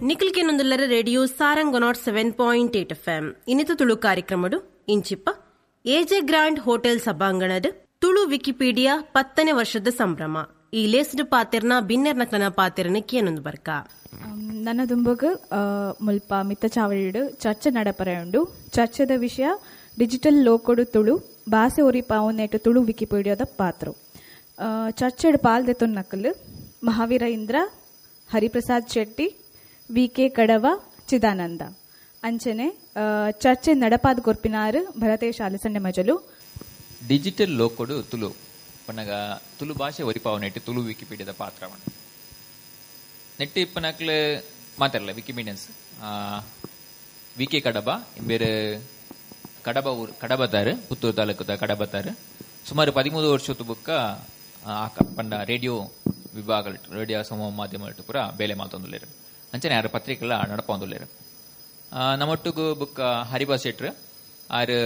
ನಿಖಿಲ್ಕೆನೊಂದುಲ್ಲರ radio Sarang 107.8 FM ಇನ್ನಿತ ತುಳು ಕಾರ್ಯಕ್ರಮಡು ಇಂಚಿಪ್ಪ ಎಜೆ ಗ್ರ್ಯಾಂಡ್ ಹೋಟೆಲ್ ಸಭಾಂಗಣದ ತುಳು ವಿಕಿಪೀಡಿಯಾ 10ನೇ ವರ್ಷದ ಸಂಭ್ರಮ ಈ ಲೇಸ್ಡ್ ಪಾತೆರ್ನ ಬಿನ್ನೆರ್ನಕ್ಲನ ಪಾತೆರನ ಕೇನೊಂದು ಬರ್ಕ. ನನ್ನ ದುಂಬಗ್ ಮುಲ್ಪ ಮಿತ್ತ ಚಾವಳಿಡು ಚರ್ಚೆ ನಡಪರೆ ಉಂಡು. ಚರ್ಚೆದ ವಿಷಯ ಡಿಜಿಟಲ್ ಲೋಕೊಡು ತುಳು ಬಾಸೆ ಒರಿಪಾವುನೇಟು ತುಳು ವಿಕಿಪೀಡಿಯಾದ ಪಾತ್ರ. ಚರ್ಚೆಡ್ ಪಾಲ್ದೆತೊನ್ ನಕಲು ಮಹಾವೀರ ಇಂದ್ರ, ಹರಿಪ್ರಸಾದ್ ಶೆಟ್ಟಿ, ವಿ ಕೆ ಕಡವ, ಚಿದಾನಂದ. ಅಂಚನೆ ಚರ್ಚೆ ನಡಪಾದ ಕೊರ್ಪಿನಾರು ಭರತೇಶ್ ಅಲಸಂಡೆ ಮಜಲು. ಡಿಜಿಟಲ್ ಲೋಕೊಡು ತುಳು ಪನ್ನಗ ತುಳು ಭಾಷೆ ಒರಿಪಾವನೆಟ್ಟು ತುಳು ವಿಕಿಪೀಡಿಯಾದ ಪಾತ್ರವಣ ನೆಟ್ಟಿ ಇಪ್ಪನಕ್ಲೆ ಮಾತಾಡಲ್ಲ ವಿಕಿಮೀಡಿಯನ್ಸ್ ವಿ ಕೆ ಕಡಬ ಬೇರೆ ಕಡಬ ಊರು ಕಡಬತಾರು, ಪುತ್ತೂರು ತಾಲೂಕುದ ಕಡಬತಾರು. ಸುಮಾರು 13 ವರ್ಷದ ಬುಕ್ಕ ಪಂಡ ರೇಡಿಯೋ ವಿಭಾಗ ರೇಡಿಯೋ ಸಮೂಹ ಮಾಧ್ಯಮ ಪೂರ ಬೇಲೆ ಮಾತೊಂದುಲ್ಲೇರು. ಅಂಚನೆ ಯಾರು ಪತ್ರಿಕೆಲ್ಲ ನಡಪೊಂದುಲ್ಲೇರು. ನಮ್ಮೊಟ್ಟಿಗೂ ಬುಕ್ಕ ಹರಿಬಾ ಶೆಟ್ರು ಆರು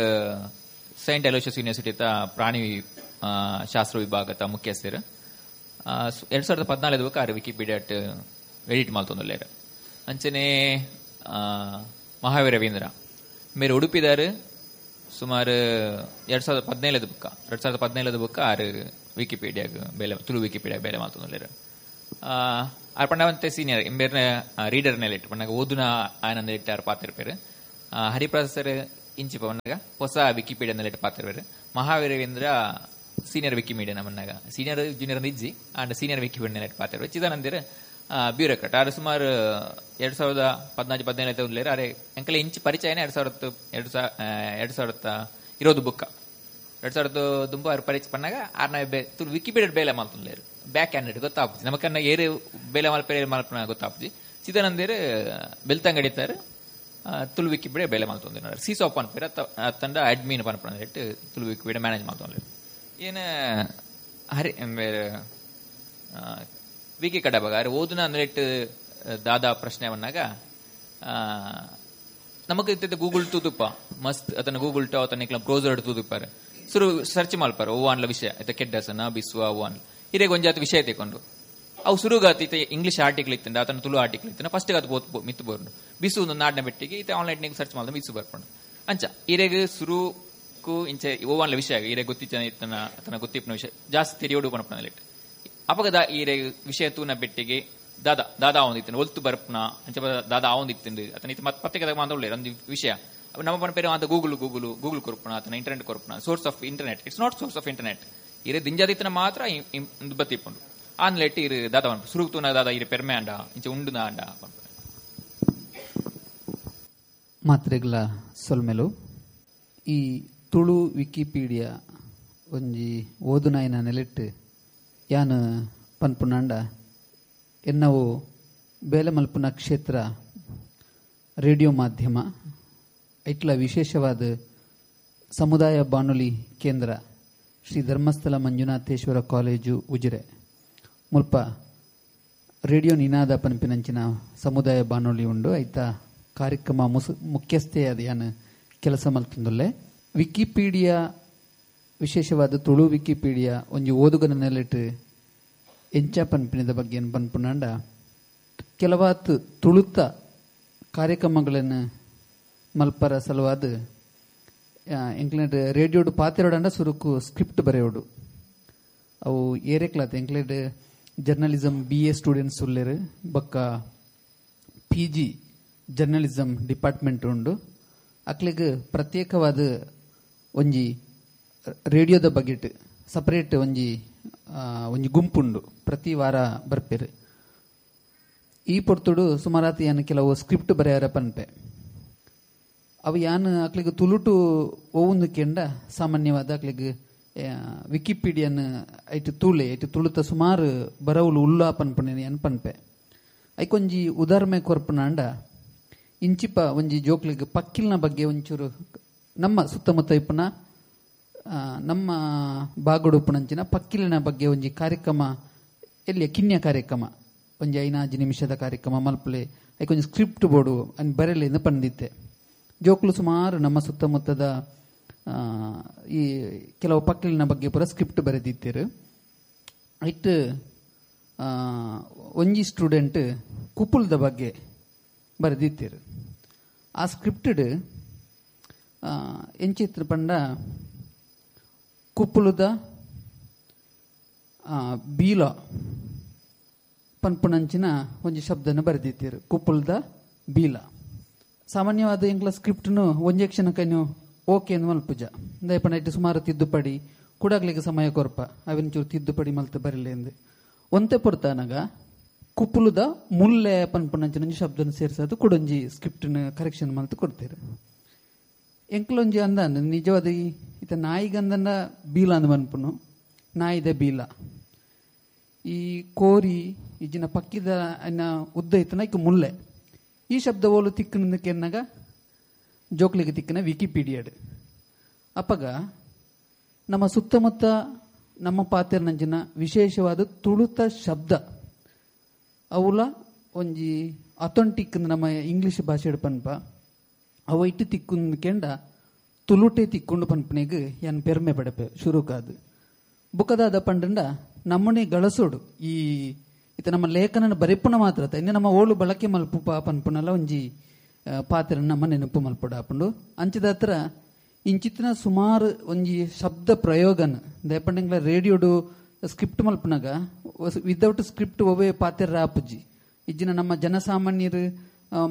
ಸೈಂಟ್ ಅಲೋಷಿಯಸ್ ಯೂನಿವರ್ಸಿಟಿತ ಪ್ರಾಣಿ ಶಾಸ್ತ್ರ ವಿಭಾಗದ ಮುಖ್ಯಸ್ಥರು. 2014 ಬುಕ್ಕ ಆರು ವಿಕಿಪೀಡಿಯಾ ಎಡಿಟ್ ಮಾಲ್ತೊಂದುಲ್ಲೇರು. ಅಂಚನೆ ಮಹಾವೀರ ರವೀಂದ್ರ ಮೇರೆ ಉಡುಪಿದಾರು. ಸುಮಾರು 2017 ಬುಕ್ಕ 2017 ಬುಕ್ಕ ಆರು ವಿಕಿಪೀಡಿಯಾಗ ಬೇಲೆ ತುಳು ವಿಕಿಪೀಡಿಯಾ ಬೇಲೆ ಮಾಲ್ತೊಂದುಲ್ಲೇರು. ಆರ್ ಪಂಡವಂತೆ ಸೀನಿಯರ್ ಇಂಬೇರ್ನ ರೀಡರ್ ನೆಲೆಟ್ ಪಂಡಾಗ ಓದುನ ಆನಂದ ಇಟ್ಟು ಆರು ಪಾತಿರ್ಪೇರು. ಹರಿಪ್ರಸಾದ್ ಸರ್ ಇಂಚಿಪ ಪಂಡಾಗ ಹೊಸ ವಿಕಿಪೀಡಿಯಾ ನೆಲೆಟ್ ಪಾತಿರ್ಪೇರು. ಮಹಾವೀರವೀಂದ್ರ ಸೀನಿಯರ್ ವಿಕಿಮೀಡಿಯಾ ನಮ್ಮನ್ನಾಗ ಸೀನಿಯರ್ ಜೂನಿಯರ್ ಇಜ್ಜಿ ಆಂಡ್ ಸೀನಿಯರ್ ವಿಕಿಪೀಡಿಯಾ ನೆಲೆಟ್ ಪಾತಿರ್ಪೇರು. ಚಿದಾನಂದಿರ ಬ್ಯೂರೋಕ್ರಾಟ್ ಆರು ಸುಮಾರು 2014-15 ಉಲ್ಲೇರು. ಅರೆ ಅಂಕಲೆ ಇಂಚು ಪರಿಚಯನೇ 2020 ಬುಕ್ಕ 2000 ದುಂಬು ಆರು ಪರಿಚಯ ಪನ್ನಾಗ ಆರ್ನ ತುಳು ವಿಕಿಪೀಡಿಯಾ ಬೇಲೆ ಮಾಲ್ತೊಂದುಲ್ಲೇರು. ಬ್ಯಾಕ್ ಹ್ಯಾಂಡ್ ಗೊತ್ತಾಪುಜಿ ನಮಕನ್ನ ಏರು ಬೇಲೆ ಮಲ್ಪೇರೆ ಮಲ್ಪನ ಗೊತ್ತಾಪುಜಿ. ಚಿದಾನಂದೇರು ಬೆಲ್ತಂಗಡಿತಾರೆ ತುಳು ವಿಕಿಪೀಡಿಯಾ ಬೇಲೆ ಮಾಲ್ತೊಂದು ಸೀಸೋಪ್ ಪನ್ಪೇರು ತಂಡ ಅಡ್ಮಿನ್ ಪನ್ಪನ ಇಟ್ಟು ತುಳು ವಿಕಿಪೀಡಿಯಾ ಮ್ಯಾನೇಜ್ ಮಾಲ್ತೊಂದು. ಏನ ಹರಿ ವಿ ಕೆ ಕಡಬಾಗ ಆರು ಓದುನ ಅಂದ್ರೆ ಇಟ್ಟು ದಾದಾ ಪ್ರಶ್ನೆ ಬಂದಾಗ ನಮಕ್ ಇತ್ತ ಗೂಗಲ್ ತೂದುಪ್ಪ ಮಸ್ತ್ ಅದನ್ನ ಗೂಗಲ್ ಟು ಅದನ್ನ ಬ್ರೌಸರ್ ತೂದುಪ್ಪಾರೆ ಸುರು ಸರ್ಚ್ ಮಲ್ಪಾರ ಓ ವಿಷಯ ಇತ್ತ ಕೆಡ್ಡಸನ ಬಿಸ್ವ ಓ ಹಿರೇಗ್ ಒಂಜಾತ ವಿಷಯ ತೆಕೊಂಡು ಅವು ಸುರುಗಾತಿ ಇತ್ತ ಇಂಗ್ಲಿಷ್ ಆರ್ಟಿಕಲ್ ಇತ್ತಂಡ ಅದನ್ನ ತುಳು ಆರ್ಟಿಕಲ್ ಇತ್ತಂಡ ಫಸ್ಟ್ ಅದು ಬೋತ್ ಮಿತ್ತು ಬೋರ್ನು ಬಿಸು ಒಂದು ನಾಡಿನ ಬೆಟ್ಟಿಗೆ ಇತ್ತ ಆನ್ಲೈನ್ ಸರ್ಚ್ ಮಾಡಿದ ಬಿಸು ಬರ್ಕೊಂಡು ಅಂಚ ಹಿರೇಗ್ ಸುರುಕು ಇಂಚೆ ಓವಾನ್ಲ ವಿಷಯ ಹಿರೇ ಗೊತ್ತಿಚ್ಚ ಇತ್ತನ ತನ್ನ ಗೊತ್ತಿಪ್ಪನ ವಿಷಯ ಜಾಸ್ತಿ ತೆರಿಯೋಡು ಪನಪನ ಅಪಗದ ಈರೆ ವಿಷಯ ತೂನ ಬೆಟ್ಟಿಗೆ ದಾದಾ ದಾದಾ ಒಂದಿತ್ತು ಒಲ್ತು ಬರ್ಪನ ಅಂಚ ದಾದಾ ಆವೊಂದಿತ್ತು ಅತನ ಇತ್ತ ಮತ್ತೆ ಪತ್ರಿಕೆ ಮಾತಾಡಲೇ ಒಂದು ವಿಷಯ ನಮ್ಮ ಪನ ಪೇರು ಅಂತ ಗೂಗಲ್ ಗೂಗಲ್ ಗೂಗಲ್ ಕೊರ್ಪಣ ಆತನ internet ಕೊರ್ಪಣ source of internet it's not source of internet ಇರೆ ದಿಂಜಾದಿತ್ತನ ಮಾತ್ರ ಬತ್ತಿಪ್ಪುಂಡು ಆನ್ಲೆಟ್ ಇರು ದಾದಾ ಸುರುಕು ತೂನ ದಾದಾ ಇರೆ ಪೆರ್ಮೆ ಅಂಡ ಇಂಚ ಉಂಡು ಅಂಡ ಮಾತ್ರೆಗಳ ಸೊಲ್ಮೆಲು. ಈ ತುಳು ವಿಕಿಪೀಡಿಯಾ ಒಂಜಿ ಓದುನಾಯಿನ ನೆಲೆಟ್ಟು ಯಾನು ಪನ್ಪುನಾಂಡ ಎನ್ನವು ಬೇಲೆ ಮಲ್ಪುನ ಕ್ಷೇತ್ರ ರೇಡಿಯೋ ಮಾಧ್ಯಮ ಐಟ್ಲ ವಿಶೇಷವಾದ ಸಮುದಾಯ ಬಾನುಲಿ ಕೇಂದ್ರ ಶ್ರೀ ಧರ್ಮಸ್ಥಳ ಮಂಜುನಾಥೇಶ್ವರ ಕಾಲೇಜು ಉಜಿರೆ ಮುಲ್ಪ ರೇಡಿಯೋ ನಿನಾದ ಪನ್ಪಿನಂಚಿನ ಸಮುದಾಯ ಬಾನುಲಿ ಉಂಡು. ಐತ ಕಾರ್ಯಕ್ರಮ ಮುಖ್ಯಸ್ಥೆಯಾದ ಯಾನು ಕೆಲಸ ಮಲ್ತಂದುಲ್ಲೆ. ವಿಕಿಪೀಡಿಯಾ ವಿಶೇಷವಾದ ತುಳು ವಿಕಿಪೀಡಿಯಾ ಒಂಜಿ ಓದುಗನ ನೆಲೆಟ್ ಎಂಚ ಪನ್ಪಿನದ ಬಗ್ಗೆ ಪನ್ಪುನಾಂಡ ಕೆಲವಾತ್ ತುಳುತ ಕಾರ್ಯಕ್ರಮಗಳನ್ನು ಮಲ್ಪರ ಸಲುವಾದ ಎಂಕ್ಲೇಟ್ ರೇಡಿಯೋಡು ಪಾತಿರೋಡಂಡ ಸುರುಕು ಸ್ಕ್ರಿಪ್ಟ್ ಬರೆಯೋಡು ಅವು ಏರೆಕ್ಲಾತ್ ಎಂಕ್ಲೇಟ್ ಜರ್ನಲಿಸಮ್ ಬಿ ಎ ಸ್ಟೂಡೆಂಟ್ಸ್ ಉಲ್ಲೇರು ಬಕ್ಕ ಪಿ ಜಿ ಜರ್ನಲಿಸಮ್ ಡಿಪಾರ್ಟ್ಮೆಂಟ್ ಉಂಡು. ಅಕ್ಲೆಗ್ ಪ್ರತ್ಯೇಕವಾದ ಒಂಜಿ ರೇಡಿಯೋದ ಬಗೆಟ್ ಸಪರೇಟ್ ಒಂಜಿ ಒಂಜಿ ಗುಂಪುಂಡು ಪ್ರತಿ ವಾರ ಬರ್ಪೇರು. ಈ ಪೊರ್ತುಡು ಸುಮಾರಾತಿ ಯಾನ್ ಕೆಲವು ಸ್ಕ್ರಿಪ್ಟ್ ಬರೆಯಾರ ಪನ್ಪೆ ಅವು ಯಾನ್ ಅಕ್ಲೆಗ್ ತುಳುಟು ಒವೊಂದು ಕೆಂಡ ಸಾಮಾನ್ಯವಾದ ಅಕ್ಲೆಗ್ ವಿಕಿಪೀಡಿಯನ್ ಐಟ್ ತುಳೆ ಐಟ್ ತುಳುತ ಸುಮಾರು ಬರವುಲು ಉಲ್ಲ ಪನ್ಪುನೆ ಯಾನ್ ಪನ್ಪೆ. ಐಕೊಂಜಿ ಉದಾಹರಣೆ ಕೊರ್ಪುನಾಂಡ ಇಂಚಿಪ ಒಂಜಿ ಜೋಕ್ಲೆಗ್ ಪಕ್ಕಿಲ್ನ ಬಗ್ಗೆ ಒಂಚೂರು ನಮ್ಮ ಸುತ್ತಮುತ್ತ ಇಪ್ಪುನ ನಮ್ಮ ಬಾಗುಡು ಉಪ್ಪುನಂಚಿನ ಪಕ್ಕಿಲಿನ ಬಗ್ಗೆ ಒಂಜಿ ಕಾರ್ಯಕ್ರಮ ಎಲ್ಲಿ ಕಿನ್ಯ ಕಾರ್ಯಕ್ರಮ ಒಂಜಿ 5 ನಿಮಿಷದ ಕಾರ್ಯಕ್ರಮ ಮಲ್ಪಲೆ ಐಕೊಂಜಿ ಸ್ಕ್ರಿಪ್ಟ್ ಬೋರ್ಡು ಅನ್ ಬರೆಲೆ ಪಂದಿತ್ತೆ. ಜೋಕ್ಲು ಸುಮಾರು ನಮ್ಮ ಸುತ್ತಮುತ್ತದ ಈ ಕೆಲವು ಪಕ್ಕಿಲಿನ ಬಗ್ಗೆ ಪೂರ ಸ್ಕ್ರಿಪ್ಟ್ ಬರೆದಿತ್ತೇರು. ಐಟ್ ಒಂಜಿ ಸ್ಟೂಡೆಂಟ್ ಕುಪುಲ್ದ ಬಗ್ಗೆ ಬರೆದಿತ್ತೀರು. ಆ ಸ್ಕ್ರಿಪ್ಟೆಡ್ ಎಂಚಿತ್ರ ಪಂಡ ಕುಪ್ಪುಲುದ ಬೀಲ ಪನ್ಪುನಂಚಿನ ಒಂಜಿ ಶಬ್ದನ ಬರೆದಿತ್ತೀರು, ಕುಪ್ಪುಲದ ಬೀಲ. ಸಾಮಾನ್ಯವಾದ ಎಂಕ್ಲ ಸ್ಕ್ರಿಪ್ಟ್ನು ಒಂಜೆ ಕ್ಷಣಕ್ಕೂ ಓಕೆ ಅಂದ್ ಮಲ್ಪುಜ ದಯಪಂಡ ಇಟ್ಟು ಸುಮಾರು ತಿದ್ದುಪಡಿ ಕೂಡಾಗ್ಲಿಕ್ಕೆ ಸಮಯ ಕೊರ್ಪ ಅವಿನ ಚೂರು ತಿದ್ದುಪಡಿ ಮಲ್ತು ಬರಲಿ ಎಂದು ಒಂತೆ ಪೊರ್ತಾನಾಗ ಕುಪ್ಪುಲುದ ಮುಲ್ಲೆ ಪನ್ಪುನಂಚಿನ ಒಂಜಿ ಶಬ್ದನ ಸೇರಿಸೋದು ಕುಡೊಂಜಿ ಸ್ಕ್ರಿಪ್ಟ್ನ ಕರೆಕ್ಷನ್ ಮಲ್ತು ಕೊಡ್ತೀರು. ಎಂಕ್ಲೊಂಜಿ ಅಂದ ನಿಜವಾದ ಈತ ನಾಯಿಗಂದನ್ನ ಬೀಲ ಅಂದ್ ಮನ್ಪುನು, ನಾಯಿದ ಬೀಲ. ಈ ಕೋರಿ ಈಜಿನ ಪಕ್ಕಿದ ಅನ್ನ ಉದ್ದ ಇತ್ತನ ಇಕ್ಕ ಮುಲ್ಲೆ. ಈ ಶಬ್ದ ಓಲು ತಿಕ್ಕನ ಕೆನ್ನಾಗ ಜೋಕ್ಲಿಗೆ ತಿಕ್ಕನ ವಿಕಿಪೀಡಿಯಾಡ್. ಅಪ್ಪಗ ನಮ್ಮ ಸುತ್ತಮುತ್ತ ನಮ್ಮ ಪಾತೆರ್ನಂಚಿನ ವಿಶೇಷವಾದ ತುಳುತ ಶಬ್ದ ಅವುಲ ಒಂಜಿ ಅಥೆಂಟಿಕ್ ನಮ್ಮ ಇಂಗ್ಲಿಷ್ ಭಾಷೆ ಪನ್ಪ ಅವ ಇಟ್ಟು ತಿಕ್ಕುಂದು ಕೆಂಡ ತುಳುಟೆ ತಿಕ್ಕೊಂಡು ಪನ್ಪನೆಗ್ ಯಾನ್ ಪೆರ್ಮೆ ಪಡಪೆ ಶುರುಕಾದು. ಬುಕದಾದ ಪಂಡಂಡ ನಮ್ಮನೆ ಗಳಸೋಡು ಈ ಇತ್ತ ನಮ್ಮ ಲೇಖನ ಬರೆಪುನ ಮಾತ್ರ ಇನ್ನು ನಮ್ಮ ಓಳು ಬಳಕೆ ಮಲ್ಪು ಪನ್ಪುನಲ್ಲ ಒಂಜಿ ಪಾತ್ರ ನಮ್ಮ ನೆನಪು ಮಲ್ಪುಡ ಆಪುಂಡು. ಅಂಚದ ಹತ್ರ ಇಂಚಿತ್ತಿನ ಸುಮಾರು ಒಂಜಿ ಶಬ್ದ ಪ್ರಯೋಗನ ದಯಪಂಡಂಗ್ಲ ರೇಡಿಯೋಡು ಸ್ಕ್ರಿಪ್ಟ್ ಮಲ್ಪನಾಗ ವಿದೌಟ್ ಸ್ಕ್ರಿಪ್ಟ್ ಒವೇ ಪಾತ್ರ ಆಪುಜಿ. ಇಜ್ಜಿನ ನಮ್ಮ ಜನಸಾಮಾನ್ಯರು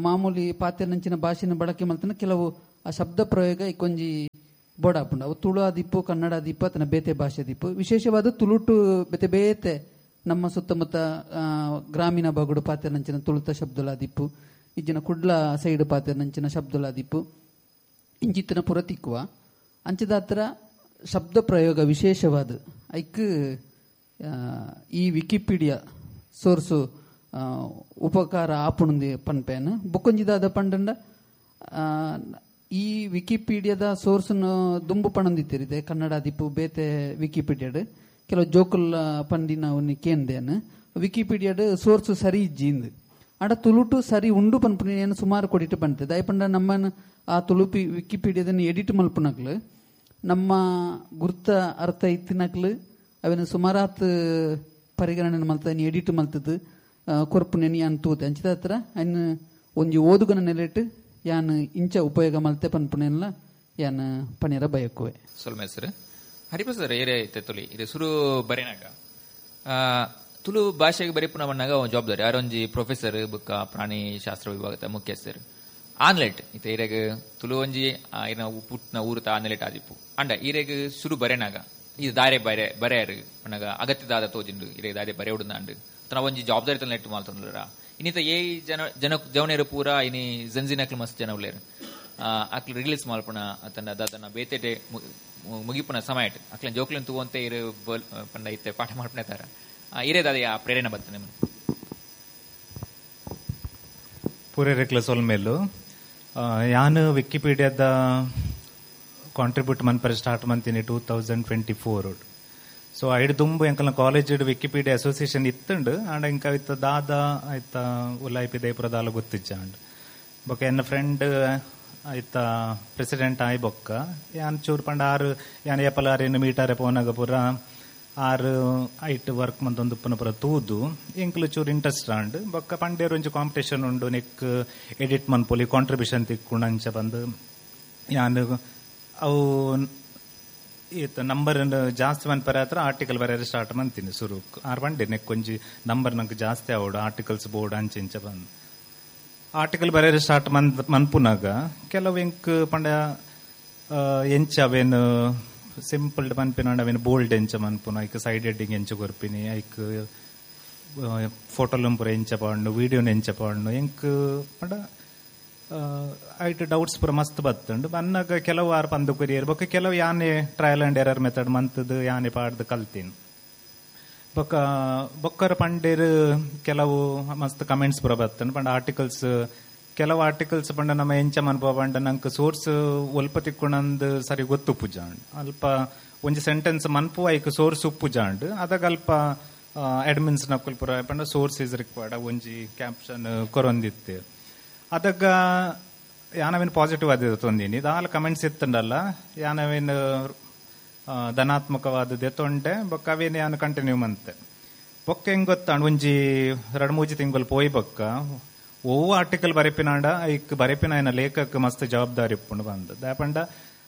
ಮಾಮೂಲಿ ಪಾತೆರ್ನಂಚಿನ ಭಾಷೆನ ಬಳಕೆ ಮಲ್ತನ ಕೆಲವು ಆ ಶಬ್ದ ಪ್ರಯೋಗ ಇಕ್ಕೊಂಜಿ ಬೋಡಾಪುಂಡು. ಅವು ತುಳು ಆದಿಪ್ಪು, ಕನ್ನಡ ಆದಿಪ್ಪು, ಅತನ ಬೇತೆ ಭಾಷೆ ದಿಪ್ಪು. ವಿಶೇಷವಾದ ತುಳುಟು ಬೇತೆ ಬೇತೆ ನಮ್ಮ ಸುತ್ತಮುತ್ತ ಗ್ರಾಮೀಣ ಭಾಗಡು ಪಾತೆರ್ನಂಚಿನ ತುಳುತ ಶಬ್ದಲಾದಿಪ್ಪು, ಇಜ್ಜಿನ ಕುಡ್ಲ ಸೈಡ್ ಪಾತೆರ್ನಂಚಿನ ಶಬ್ದಲಾದಿಪ್ಪು ಇಂಚಿತ್ತಿನ ಪುರ ತಿಕ್ಕುವ. ಅಂಚದ ಹತ್ರ ಶಬ್ದ ಪ್ರಯೋಗ ವಿಶೇಷವಾದ ಐಕ್ ಈ ವಿಕಿಪೀಡಿಯಾ ಸೋರ್ಸು ಉಪಕಾರ ಆಪುಣಂದಿ ಪನ್ಪೇನು. ಬುಕ್ಕೊಂಜಿದಾದ ಪಂಡಂಡ ಈ ವಿಕಿಪೀಡಿಯಾದ ಸೋರ್ಸನ್ನು ದುಂಬು ಪಣಂದಿತ್ತಿರಿದೆ ಕನ್ನಡ ದಿಪ್ಪು ಬೇತೆ ವಿಕಿಪೀಡಿಯಾಡ್ ಕೆಲವು ಜೋಕುಲ್ ಪಂಡಿನ ಅವನಿ ಕೇಂದೇನು ವಿಕಿಪೀಡಿಯಾಡ್ ಸೋರ್ಸು ಸರಿ ಇಜ್ಜಿಂದು ಆಡ ತುಳುಟು ಸರಿ ಉಂಡು ಪನ್ಪುನ ಸುಮಾರು ಕೊಡಿಟ್ಟು ಪಂತೆ. ದಯಪಂಡ ನಮ್ಮನ್ನು ಆ ತುಳುಪಿ ವಿಕಿಪೀಡಿಯಾದನ್ನು ಎಡಿಟ್ ಮಲ್ಪುನಕ್ಲು ನಮ್ಮ ಗುರ್ತ ಅರ್ಥ ಇತ್ತಿನಕ್ಲು ಅವನ ಸುಮಾರಾತ್ ಪರಿಗಣನೆ ಮಲ್ತ ಎಡಿಟ್ ಮಲ್ತದ್ದು ಕೊರ್ಪುನೆನಿ ಯಾನ್ ತೂತೆ. ಅಂಚಿದ ಹತ್ರ ಅನ್ ಒಂಜಿ ಓದುಗನ ನೆಲೆಟ್ ಯಾನ್ ಇಂಚ ಉಪಯೋಗ ಮಲ್ತೆ ಪನ್ಪುನೆಲ್ಲ ಯಾನ್ ಪನೇರ ಬಯಕುವೆ. ಸೊಲ್ಮೆ ಸರ್ ಹರಿಪ್ರಸಾದ್ ಏರೇ ತೊಲಿ ಇದು ಸುರು ಬರೆನಾಗ ತುಳು ಭಾಷೆಗೆ ಬರೆಪುನ ಬಣ್ಣಾಗ ಜವಾಬ್ದಾರಿ ಯಾರೊಂಜಿ ಪ್ರೊಫೆಸರ್ ಬುಕ್ಕ ಪ್ರಾಣಿ ಶಾಸ್ತ್ರ ವಿಭಾಗದ ಮುಖ್ಯಸ್ಥರು ಆನ್ಲೆಟ್ ಇತ್ತ ಈರೆಗ್ ತುಳು ಒಂಜಿ ಇರ್ನ ಪುಟ್ನ ಊರುತ ಆನ್ಲೆಟ್ ಆದಿಪ್ಪು ಅಂಡ ಈರೆಗ್ ಸುರು ಬರೆನಾಗ ಇದು ದಾರೆ ಬರೆ ಬರೆಯಾರು ಪಣ್ಣಾಗ ಅಗತ್ಯದಾದ ತೋಜಿಂಡು ಇರೆಗ್ ದಾರೆ ಬರೆಯುಡು ತನ್ನ ಒಂಜಿ ಜವಾಬ್ದಾರಿ ತನ್ನ ನೆಟ್ಟು ಮಾಲ್ತೊಂದುರ ಇನ್ನಿತ ಏ ಜನ ಜನ ಜವನೇರು ಪೂರ ಇನಿ ಜಂಜಿನಕ್ಲು ಮಸ್ತ್ ಜನ ಉಳ್ಳೇರು ಅಕ್ಲು ರಿಲೀಸ್ ಮಾಲ್ಪುಣ ತನ್ನ ದಾದನ ಬೇತೆಟೆ ಮುಗಿಪುನ ಸಮಯ ಅಕ್ಲ ಜೋಕ್ಲಿನ್ ತೂವಂತೆ ಇರು ಪಂಡ ಇತ್ತೆ ಪಾಠ ಮಾಡ್ಪುಣ ತಾರ ಇರೇ ದಾದ ಆ ಪ್ರೇರಣೆ ಬರ್ತದೆ ನಿಮ್ಗೆ. ಪೂರೇರೆಕ್ಲ ಸೊಲ್ಮೇಲು ಯಾನು ವಿಕಿಪೀಡಿಯಾದ ಕಾಂಟ್ರಿಬ್ಯೂಟ್ ಮನ್ಪರೆ ಸ್ಟಾರ್ಟ್ ಮಂತೀನಿ 2024. ಸೊ ಐಡ್ ದುಂಬು ಎಂಕಲ್ನ ಕಾಲೇಜ್ ವಿಕಿಪೀಡಿಯಾ ಅಸೋಸಿಯೇಷನ್ ಇತ್ತುಂಡು ಆಂಡ ಇಂಕ ಇತ್ತ ದಾದ ಆಯ್ತ ಉಲಾಯ್ಪಿ ದೇಪುರ ದಾಲ ಗೊತ್ತಿಜ್ಜ ಅಂಡ್ ಬೊಕ್ಕ ಎನ್ನ ಫ್ರೆಂಡ್ ಆಯ್ತ ಪ್ರೆಸಿಡೆಂಟ್ ಆಯ್ ಬೊಕ್ಕ ಯಾನ್ ಚೂರು ಪಂಡ ಆರು ಯಾನ್ ಏಪಲ ಆರೇನು ಮೀಟಾರೆ ಪೋನಾಗ ಪೂರ ಆರು ಐಟ್ ವರ್ಕ್ ಮಂತೊಂದು ಉಪ್ಪುನ ಪೂರ ತೂದು ಎಂಕ್ಲು ಚೂರು ಇಂಟ್ರೆಸ್ಟ್ ಆಂಡ್ ಬೊಕ್ಕ ಪಂಡೇರು ಒಂಜಿ ಕಾಂಪಿಟೇಷನ್ ಉಂಡು ನೆಕ್ ಎಡಿಟ್ ಮನ್ಪೊಲಿ ಕಾಂಟ್ರಿಬ್ಯೂಷನ್ ತಿಕ್ಕೊಂಡು ಅಂಚ ಬಂದು ಯಾನ್ ಅವು ಈತ ನಂಬರ್ ಜಾಸ್ತಿ ಮನ್ಪರೆ ಹತ್ರ ಆರ್ಟಿಕಲ್ ಬರೆಯರೆ ಸ್ಟಾರ್ಟ್ ಮಂತೀನಿ ಸುರುಕ್ ಆರು ಬಂಡೆ ನೆಕ್ ಒಂಜಿ ನಂಬರ್ ನಂಗೆ ಜಾಸ್ತಿ ಆವಡು ಆರ್ಟಿಕಲ್ಸ್ ಬೋರ್ಡ್ ಅಂಚೆ ಇಂಚ ಬಂದು ಆರ್ಟಿಕಲ್ ಬರೆಯರೆ ಸ್ಟಾರ್ಟ್ ಮನ್ಪುನಾಗ ಕೆಲವು ಎಂಕ್ ಪಂಡ ಎಂಚ ಅವೇನು ಸಿಂಪಲ್ ಮನ್ಪಿನ ಅವೇನು ಬೋಲ್ಡ್ ಎಂಚ ಮನ್ಪುನ ಐಕ್ ಸೈಡ್ ಎಡ್ಡಿಂಗ್ ಎಂಚ ಕೊರ್ಪಿನಿ ಐಕ್ ಫೋಟೋಲಂ ಪೂರ ಎಂಚ ಪಾಂಡು ವೀಡಿಯೋನ ಎಂಚ ಪಾಂಡು ಎಂಕ್ ಪಂಡ ಐಟ್ ಡೌಟ್ಸ್ ಪೂರ ಮಸ್ತ್ ಬತ್ತುಂಡು ಬನ್ನಾಗ ಕೆಲವು ಆರು ಪಂದು ಕೊರಿಯರ್ ಬೊಕ್ಕ ಕೆಲವು ಯಾನೆ trial and error method ಮಂತದ್ದು ಯಾನೆ ಪಾಡ್ದು ಕಲ್ತೀನಿ ಬೊಕ್ಕ ಬೊಕ್ಕರ ಪಂಡೇರು ಕೆಲವು ಮಸ್ತ್ ಕಮೆಂಟ್ಸ್ ಪೂರ ಬತ್ತುಂಡು ಪಂಡ ಆರ್ಟಿಕಲ್ಸ್ ಕೆಲವು ಆರ್ಟಿಕಲ್ಸ್ ಪಂಡ ನಮ್ಮ ಎಂಚ ಮನ್ಪುವ ಪಂಡ ನಂಗೆ ಸೋರ್ಸ್ ಒಲ್ಪ ತಿಕ್ಕೊಂಡಂದು ಸರಿ ಗೊತ್ತು ಉಪ್ಪುಜಾಂಡ್ ಅಲ್ಪ ಒಂಜಿ ಸೆಂಟೆನ್ಸ್ ಮನ್ಪುವ ಐಕ್ ಸೋರ್ಸ್ ಉಪ್ಪುಜಾಂಡ್ ಅದಾಗ ಅಲ್ಪ ಅಡ್ಮಿನ್ಸ್ ನಕುಲ್ ಪೂರ ಪಂಡ ಸೋರ್ಸ್ is required ಒಂಜಿ ಕ್ಯಾಪ್ಷನ್ ಕೊರೊಂದಿತ್ತು ಅದಗ ಯಾನವೇನು ಪಾಸಿಟಿವ್ ಆದ ತೊಂದಿನಿ ದಾಲ ಕಮೆಂಟ್ಸ್ ಇತ್ತಂಡಲ್ಲ ಯಾನವೇನು ಧನಾತ್ಮಕವಾದದ್ದೇ ತೊಂಡೆ ಬೊಕ್ಕ ಅವೇನು ಯಾನು ಕಂಟಿನ್ಯೂ ಮಂತೆ ಬೊಕ್ಕ ಹೆಂಗ್ ಗೊತ್ತಾಂಡ್ ಒಂಜಿ 2-3 ತಿಂಗಳು ಪೋಯ್ ಬೊಕ್ಕ ಒವ್ವು ಆರ್ಟಿಕಲ್ ಬರೆಪಿನಾಂಡ ಐಕ್ ಬರೆಪಿನ ಆಯನ ಲೇಖಕ ಮಸ್ತ್ ಜವಾಬ್ದಾರಿ ಇಪ್ಪುಂಡು ಬಂದು ದಾಪಂಡ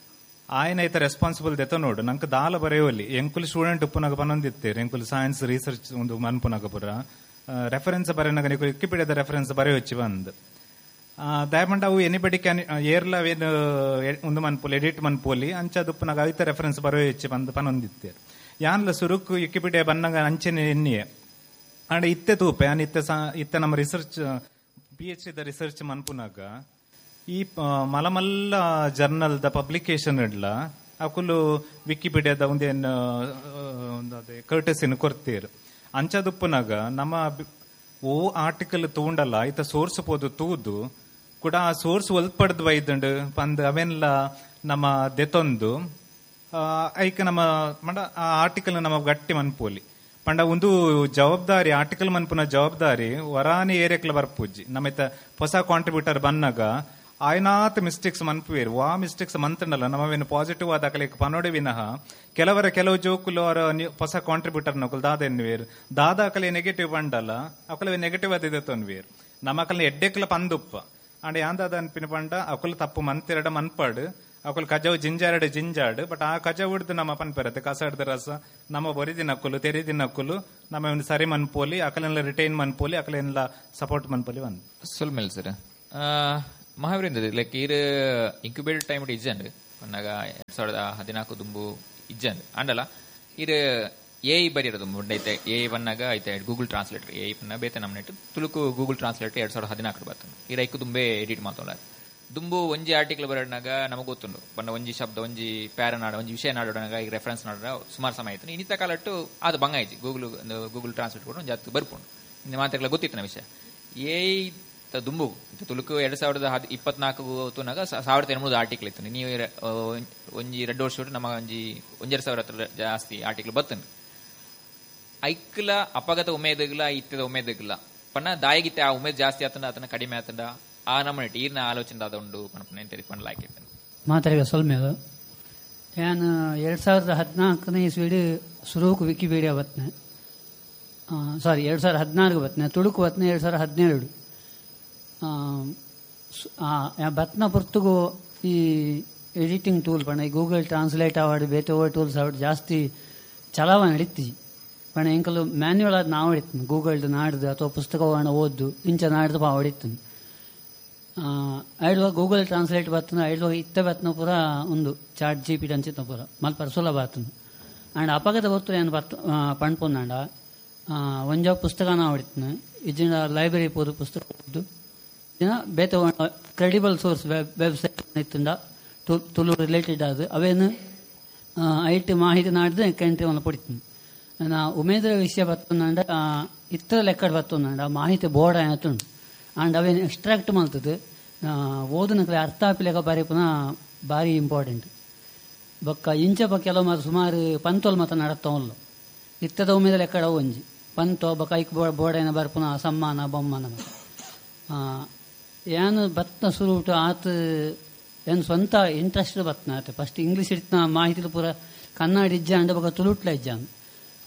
ಆಯನ ಐತ ರೆಸ್ಪಾನ್ಸಿಬಲ್ ದೆತ ನೋಡು ನಂಗೆ ದಾಲ ಬರೆಯೋಲಿ ಎಂಕುಲು ಸ್ಟೂಡೆಂಟ್ ಉಪ್ಪುನಾಗ ಪನೊಂದಿತ್ತೇರು ಎಂಕುಲು ಸೈನ್ಸ್ ರಿಸರ್ಚ್ ಒಂದು ಮನ್ಪುನಾಗ ಪುರ ರೆಫರೆನ್ಸ್ ಬರೆನಾಗ ನೀವು ವಿಕಿಪೀಡಿಯಾದ ರೆಫರೆನ್ಸ್ ಬರೆಯೊಚ್ಚಿ ಬಂದು ದಯಪಂಡ ಅವು ಎನಿಬಡಿ can ಏರ್ಲ ಏನು ಒಂದು ಮನ್ಪೋಲಿ ಎಡಿಟ್ ಮನ್ಪೋಲಿ ಅಂಚ ದುಪ್ಪುನಾಗ ಐತ ರೆಫರೆನ್ಸ್ ಬರೆಯೊಚ್ಚಿ ಬಂದು ಪನೊಂದಿತ್ತೇರು ಯಾನ್ಲ ಸುರುಕು ವಿಕಿಪೀಡಿಯಾ ಬನ್ನಾಗ ಅಂಚೆನೆ ಎನ್ನಿಯೆ ಅಂಡ್ ಇತ್ತೆ ತೂಪೆ ಯಾನ್ ಇತ್ತೆ ಇತ್ತೆ ನಮ್ಮ ರಿಸರ್ಚ್ PhD the research ಮನ್ಪುನಾಗ ಈ ಮಲಮಲ್ಲ ಜರ್ನಲ್ ದ ಪಬ್ಲಿಕೇಶನ್ ಇಡ್ಲ ಅಕುಲು ವಿಕಿಪೀಡಿಯಾದ ಒಂದೇನು ಅದೇ ಕರ್ಟಸಿನ ಕೊರ್ತೀರ್ ಅಂಚದುಪ್ಪುನಾಗ ನಮ್ಮ ಓ ಆರ್ಟಿಕಲ್ ತೂಂಡಲ್ಲ ಐತ ಸೋರ್ಸ್ ಪೋದು ತೂದು ಕೂಡ ಆ ಸೋರ್ಸ್ ಒಲ್ಪಡ್ದು ಬೈದುಂಡು ಪಂದ್ ಅವೆನ್ಲ ನಮ್ಮ ದೆತೊಂದು ಐಕ ನಮ್ಮ ಮಂಡ ಆ ಆರ್ಟಿಕಲ್ ನಮ್ಮ ಗಟ್ಟಿ ಮನ್ಪೋಲಿ ಪಂಡ ಒಂದು ಜವಾಬ್ದಾರಿ ಆರ್ಟಿಕಲ್ ಮನ್ಪುನ ಜವಾಬ್ದಾರಿ ವರಾನಿ ಏರಿಯಾಕ್ಲ ಬರ್ಪೂಜಿ ನಮ್ಮಿತ ಹೊಸ ಕಾಂಟ್ರಿಬ್ಯೂಟರ್ ಬನ್ನಾಗ ಆಯ್ನಾತ್ ಮಿಸ್ಟೇಕ್ಸ್ ಮನ್ಪುವೇರು ವಾ ಮಿಸ್ಟೇಕ್ಸ್ ಮಂತಂಡಲ್ಲ ನಮ್ಮವೇನು ಪಾಸಿಟಿವ್ ಆದ ಅಕಲಿಕ್ ಪನೋಡೆ ವಿನಃ ಕೆಲವರ ಕೆಲವು ಜೋಕುಲು ಅವರ ಹೊಸ ಕಾಂಟ್ರಿಬ್ಯೂಟರ್ ನಕುಲು ದಾದ ಎನ್ನುವೇರು ದಾದ ಅಕಲೆ ನೆಗೆಟಿವ್ ಬಂಡಲ್ಲ ಅಕಲವೆ ನೆಗೆಟಿವ್ ಅದಿದೆ ತೊನ್ವೇರು ನಮ್ಮ ಅಕಲ್ನ ಎಡ್ಡೆಕ್ಲ ಪಂದುಪ್ಪ ಅಂಡ್ ಯಾಂದಾದ ಅನ್ಪಿನ ಪಂಡ ಅಕುಲು ತಪ್ಪು ಮಂತಿರಡ ಮನ್ಪಾಡು ಅಕುಲು ಕಜವು ಜಿಂಜಾರಡು ಜಿಂಜಾಡು ಬಟ್ ಆ ಕಜವು ಹಿಡ್ದು ನಮ್ಮ ಪನ್ಪೆರತ್ತೆ ಕಸ ಹಿಡ್ದು ರಸ ನಮ್ಮ ಬೊರಿದಿನಕ್ಕುಲು ತೆರಿದಿನಕ್ಕುಲು ನಮ್ಮ ಒಂದು ಸರಿ ಮನ್ಪೋಲಿ ಅಕಲೆಲ್ಲ ರಿಟೈನ್ ಮನ್ಪೋಲಿ ಅಕಲೆಲ್ಲ ಸಪೋರ್ಟ್ ಮನ್ಪೋಲಿ ಒಂದು ಸೊಲ್ಮೇಲ್ ಸರ್ ಮಹಾವೀರಿಂದ ಲೈಕ್ ಈರ್ ಇನ್ಕ್ಯುಬೇಟರ್ ಟೈಮ್ ಇಜ್ಜಂಡ್ ಪನ್ನಾಗ 2014 ದುಂಬು ಇಜ್ಜಂಡ್ ಅಂಡಲ ಈರ್ ಎ I ಬರಿಯರ ದುಂಬು ಐತೆ ಎ I ಬನ್ನಾಗ ಐತೆ Google translator A I ಪನ್ನ ಬೇತೆ ನಮ್ಮ ನೆಟ್ ತುಳುಕು ಗೂಗಲ್ ಟ್ರಾನ್ಸ್ಲೇಟರ್ 2014 ಬರ್ತದೆ ಈರ್ ಐಕು ದುಂಬೆ ಎಡಿಟ್ ಮಾತೋಲ್ಲ ದುಂಬು ಒಂಜಿ ಆರ್ಟಿಕಲ್ ಬರೋಣಾಗ ನಮಗೆ ಗೊತ್ತುಂಡು ಬಣ್ಣ ಒಂಜಿ ಶಬ್ದ ಒಂಜಿ ಪ್ಯಾರ ನಾಡ ಒಂಜಿ ವಿಷಯ ನಾಡೋಣಾಗ ಈಗ ರೆಫರೆನ್ಸ್ ನಾಡ ಸುಮಾರು ಸಮಯ ಆಯ್ತು ಇನ್ನಿತ ಕಾಲಟ್ಟು ಅದು ಬಂಗ ಆಯ್ತು ಗೂಗಲ್ ಗೂಗಲ್ ಟ್ರಾನ್ಸ್ಲೇಟ್ ಕೂಡ ಒಂದು ಜಾಸ್ತಿ ಬರ್ಪುಂಡು ಇನ್ನು ಮಾತಾಡಲ ಗೊತ್ತಿತ್ತು ವಿಷಯ ಏ ದುಂಬು ತುಳುಕು 2024 ತೂನಾಗ 1800 ಆರ್ಟಿಕಲ್ ಇತ್ತು ನೀವು ಒಂಜಿ 2 ವರ್ಷ ನಮ್ಮ ಒಂಜಿ 1,500 ಹತ್ರ ಜಾಸ್ತಿ ಆರ್ಟಿಕಲ್ ಬರ್ತುಂಡು ಐಕ್ಲ ಅಪಗತ ಉಮೇದಗ್ಲ ಇತ್ತದ ಉಮೇದಗ್ಲ ಪನ್ನ ದಾಯಿಗಿತ್ತೆ ಆ ಉಮೇದ್ ಜಾಸ್ತಿ ಆತಂಡ ಆತನ ಕಡಿಮೆ ಆತಂಡ ಆ ನಮ್ಮನೆ ಈರ್ನ ಆಲೋಚನೆ ಆದ ಉಂಡು ಪಣಪನೆ ಪಣ್ಣಲಾಕಿತ್ತು ಮಾತಾಡಿದ ಸೊಲ್ಮೇಲು ನಾನು 2014ನೇ ಇಸ್ವಿಡು ಸುರೂಕು ವಿಕಿಪೀಡಿಯಾ ಬತ್ನೆ ಸಾರಿ 2014 ಬತ್ನೆ ತುಳುಕು ಬತ್ನೆ 2017 ಬತ್ನ ಪೊರ್ತುಗು ಈ ಎಡಿಟಿಂಗ್ ಟೂಲ್ ಪಣ ಈ ಗೂಗಲ್ ಟ್ರಾನ್ಸ್ಲೇಟ್ ಆವಾಡು ಬೇತೆ ಓವರ್ ಟೂಲ್ಸ್ ಆವಾಡು ಜಾಸ್ತಿ ಚಲಾವಣೆ ನಡೀತಿ ಪಣ ಎಂಕಲು ಮ್ಯಾನ್ಯುವಲ್ ಆದ ನಾವು ಹೊಡಿತೀನಿ ಗೂಗಲ್ದು ನಾಡ್ದು ಅಥವಾ ಪುಸ್ತಕವನ್ನು ಓದ್ದು ಇಂಚ ನಾಡ್ದು ಪಾ ಹೊಡಿತೀನಿ ಐಡುವಾಗ ಗೂಗಲ್ ಟ್ರಾನ್ಸ್ಲೇಟ್ ಬರ್ತನ ಐಡುವಾಗ ಇತ್ತ ಬರ್ತನ ಪೂರ ಒಂದು ಚಾಟ್ ಜಿ ಪಿ ಅಂಚಿತ್ನ ಪೂರ ಮಲ್ಪ ಸುಲಭ ಆತನ ಆ್ಯಂಡ್ ಅಪಗದ ಹೊತ್ತು ಏನು ಬರ್ತ ಪಣ್ಪೊಂದಾಂಡ ಒಂಜ ಪುಸ್ತಕನ ಹೊಡಿತೀನಿ ಇಜ್ಜಿನ ಲೈಬ್ರರಿ ಪೋದು ಪುಸ್ತಕ ಓದ್ದು ದಿನ ಬೇತೆ ಕ್ರೆಡಿಬಲ್ ಸೋರ್ಸ್ ವೆಬ್ಸೈಟ್ ಇತ್ತಂಡ ತುಳು ರಿಲೇಟೆಡ್ ಅದು ಅವೇನು ಐಟ್ ಮಾಹಿತಿ ನಾಡ್ದು ಕಂಟ್ರಿ ಒಂದು ಪಡಿತೀನಿ ನಾ ಉಮೇದ್ರ ವಿಷಯ ಬರ್ತಂಡ ಇತರ ಲೆಕ್ಕಡ್ ಬರ್ತಂಡ ಮಾಹಿತಿ ಬೋರ್ಡ್ ಆಯ್ತುಂಡು ಆ್ಯಂಡ್ ಅವೇನು ಎಕ್ಸ್ಟ್ರಾಕ್ಟ್ ಮಾಡ್ತದೆ ಓದನಕಲೆ ಅರ್ಥ ಆಪಿಲೆಕ ಬಾರಿ ಪುನಃ ಭಾರಿ ಇಂಪಾರ್ಟೆಂಟ್ ಬೊಕ್ಕ ಇಂಚ ಕೆಲವು ಮಾತು ಸುಮಾರು ಪಂತೋಲ್ ಮಾತ ನಡತ್ತವಲ್ಲ ಇತ್ತದ ಉಮೇದ ಲೆಕ್ಕಡ ಒಂಜಿ ಪಂತೋ ಬೊಕ್ಕ ಐಕ್ ಬೋರ್ಡ್ ಬರ್ಪುನ ಸಮ್ಮಾನ ಬೊಮ್ಮನ ಮಾತ ಏನು ಬತ್ನ ಸುರುಟು ಆತ ಏನು ಸ್ವಂತ ಇಂಟ್ರೆಸ್ಟ್ ಬತ್ನ ಆತ ಫಸ್ಟ್ ಇಂಗ್ಲೀಷ್ ಇಡ್ತಿನ ಮಾಹಿತಿ ಪೂರ ಕನ್ನಡ ಇಜ್ಜ ಅಂಡ ಬೊಕ್ಕ ತುಳುಟ್ಲ ಇಜ್ಜ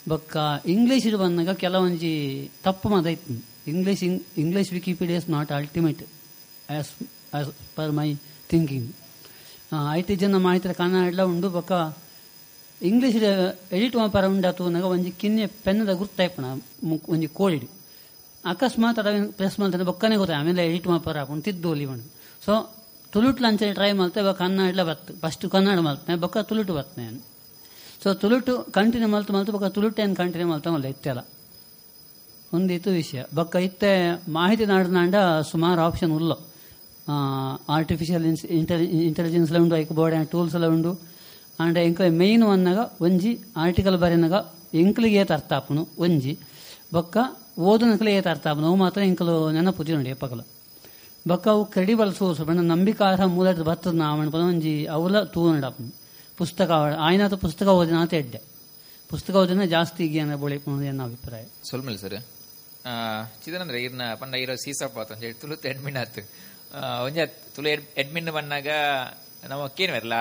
ಬೊಕ್ಕ ಇಂಗ್ಲೀಷ್ ಬಂದಾಗ ಕೆಲವೊಂಜಿ ತಪ್ಪು ಮಾತ ಇತ್ತು English English Wikipedia is not ultimate as as per my thinking IT ಜನ ಮಾಹಿತಿ ಕನ್ನಡ ಉಂಡು ಬೊಕ್ಕ ಇಂಗ್ಲೀಷ್ ಎಡಿಟ್ ಪರ ಉಂಡು ತೂನಾಗ ಒಂಜಿ ಕಿನ್ನೆ ಪೆನ್ನದ ಗುರ್ತಾಯ್ಪಣ ಒಂಜಿ ಕೋಳಿಡ್ ಅಕಸ್ಮಾತ್ ಅದ ಪ್ರೆಸ್ ಮಾಡ್ತಾರೆ ಬೊಕ್ಕನೆ ಗೊತ್ತಾಯ ಆಮೇಲೆ ಎಡಿಟ್ ಮಾಪರ ಹಾಕೊಂಡು ತಿದ್ದು ಒಲಿ ಸೊ ತುಳುಟ್ಲ ಅಂಚನೆ ಟ್ರೈ ಮಾಡ್ತೆ ಬೊಕ್ಕ ಕನ್ನಡಲ ಬತ್ತು ಫಸ್ಟ್ ಕನ್ನಡ ಮಲ್ತನೆ ಬೊಕ್ಕ ತುಳುಟು ಬರ್ತನೆ ಸೊ ತುಳುಟು ಕಂಟಿನ್ಯೂ ಮಲ್ತು ಮಲ್ತು ಬೊಕ್ಕ ತುಳುಟು ಏನು ಕಂಟಿನ್ಯೂ ಮಲ್ತ ಮಲ್ಲ ಇತ್ತೆಲ್ಲ ಒಂದಿತ್ತು ವಿಷಯ ಬೊಕ್ಕ ಇತ್ತೆ ಮಾಹಿತಿ ನಾಡ್ನಾಂಡ ಸುಮಾರು ಆಪ್ಷನ್ ಉಲ್ಲ ಆರ್ಟಿಫಿಷಿಯಲ್ ಇಂಟೆಲಿಜೆನ್ಸ್ ಎಲ್ಲ ಉಂಡು ಐಕ್ ಬೋರ್ಡ್ ಟೂಲ್ಸ್ ಎಲ್ಲ ಉಂಡು ಆಂಡ ಎಂಕ ಮೇಯ್ನ್ ಒನ್ನಾಗ ಒಂಜಿ ಆರ್ಟಿಕಲ್ ಬರೆನಾಗ ಎಂಕ್ಲಿಗೆ ಏತ್ ಅರ್ಥ ಆಪುನು ಒಂಜಿ ಬೊಕ್ಕ ಓದನಕಲೆ ಏತ್ ಅರ್ಥ ಆಪುನು ಅವು ಮಾತ್ರ ಎಂಕಲು ನೆನಪು ನೋಡಿ ಎಪ್ಪಕಲ ಬೊಕ್ಕ ಅವು ಕ್ರೆಡಿಬಲ್ ಸೋರ್ಸ್ ಬಣ್ಣ ನಂಬಿಕಾರ್ಹ ಮೂಲದ ಬರ್ತದ ನಾವಣ್ಣ ಒಂಜಿ ಅವಲ ತೂನಡಾಪುನು ಪುಸ್ತಕ ಆಯ್ನಾತ ಪುಸ್ತಕ ಓದಿನಾತ ಎಡ್ಡೆ ಪುಸ್ತಕ ಓದಿನ ಜಾಸ್ತಿ ಜ್ಞಾನ ಬೊಳಿಪುನು ಎನ್ನ ಅಭಿಪ್ರಾಯ. ಸೊಲ್ಮೇಲ್ ಸರ್ ಚಿದನಂದ್ರೆ ಇರ್ನ ಪಂಡ ಇರೋ ಸೀಸಪ್ಪ ಅಂತ ಹೇಳಿ ತುಳು ಎಡ್ಮಿನ್ ಆತು ಒಂಜ ತುಳು ಎಡ್ಮಿನ್ ಬಂದಾಗ ನಮ್ಮ ಕೇನು ಬರಲ್ಲ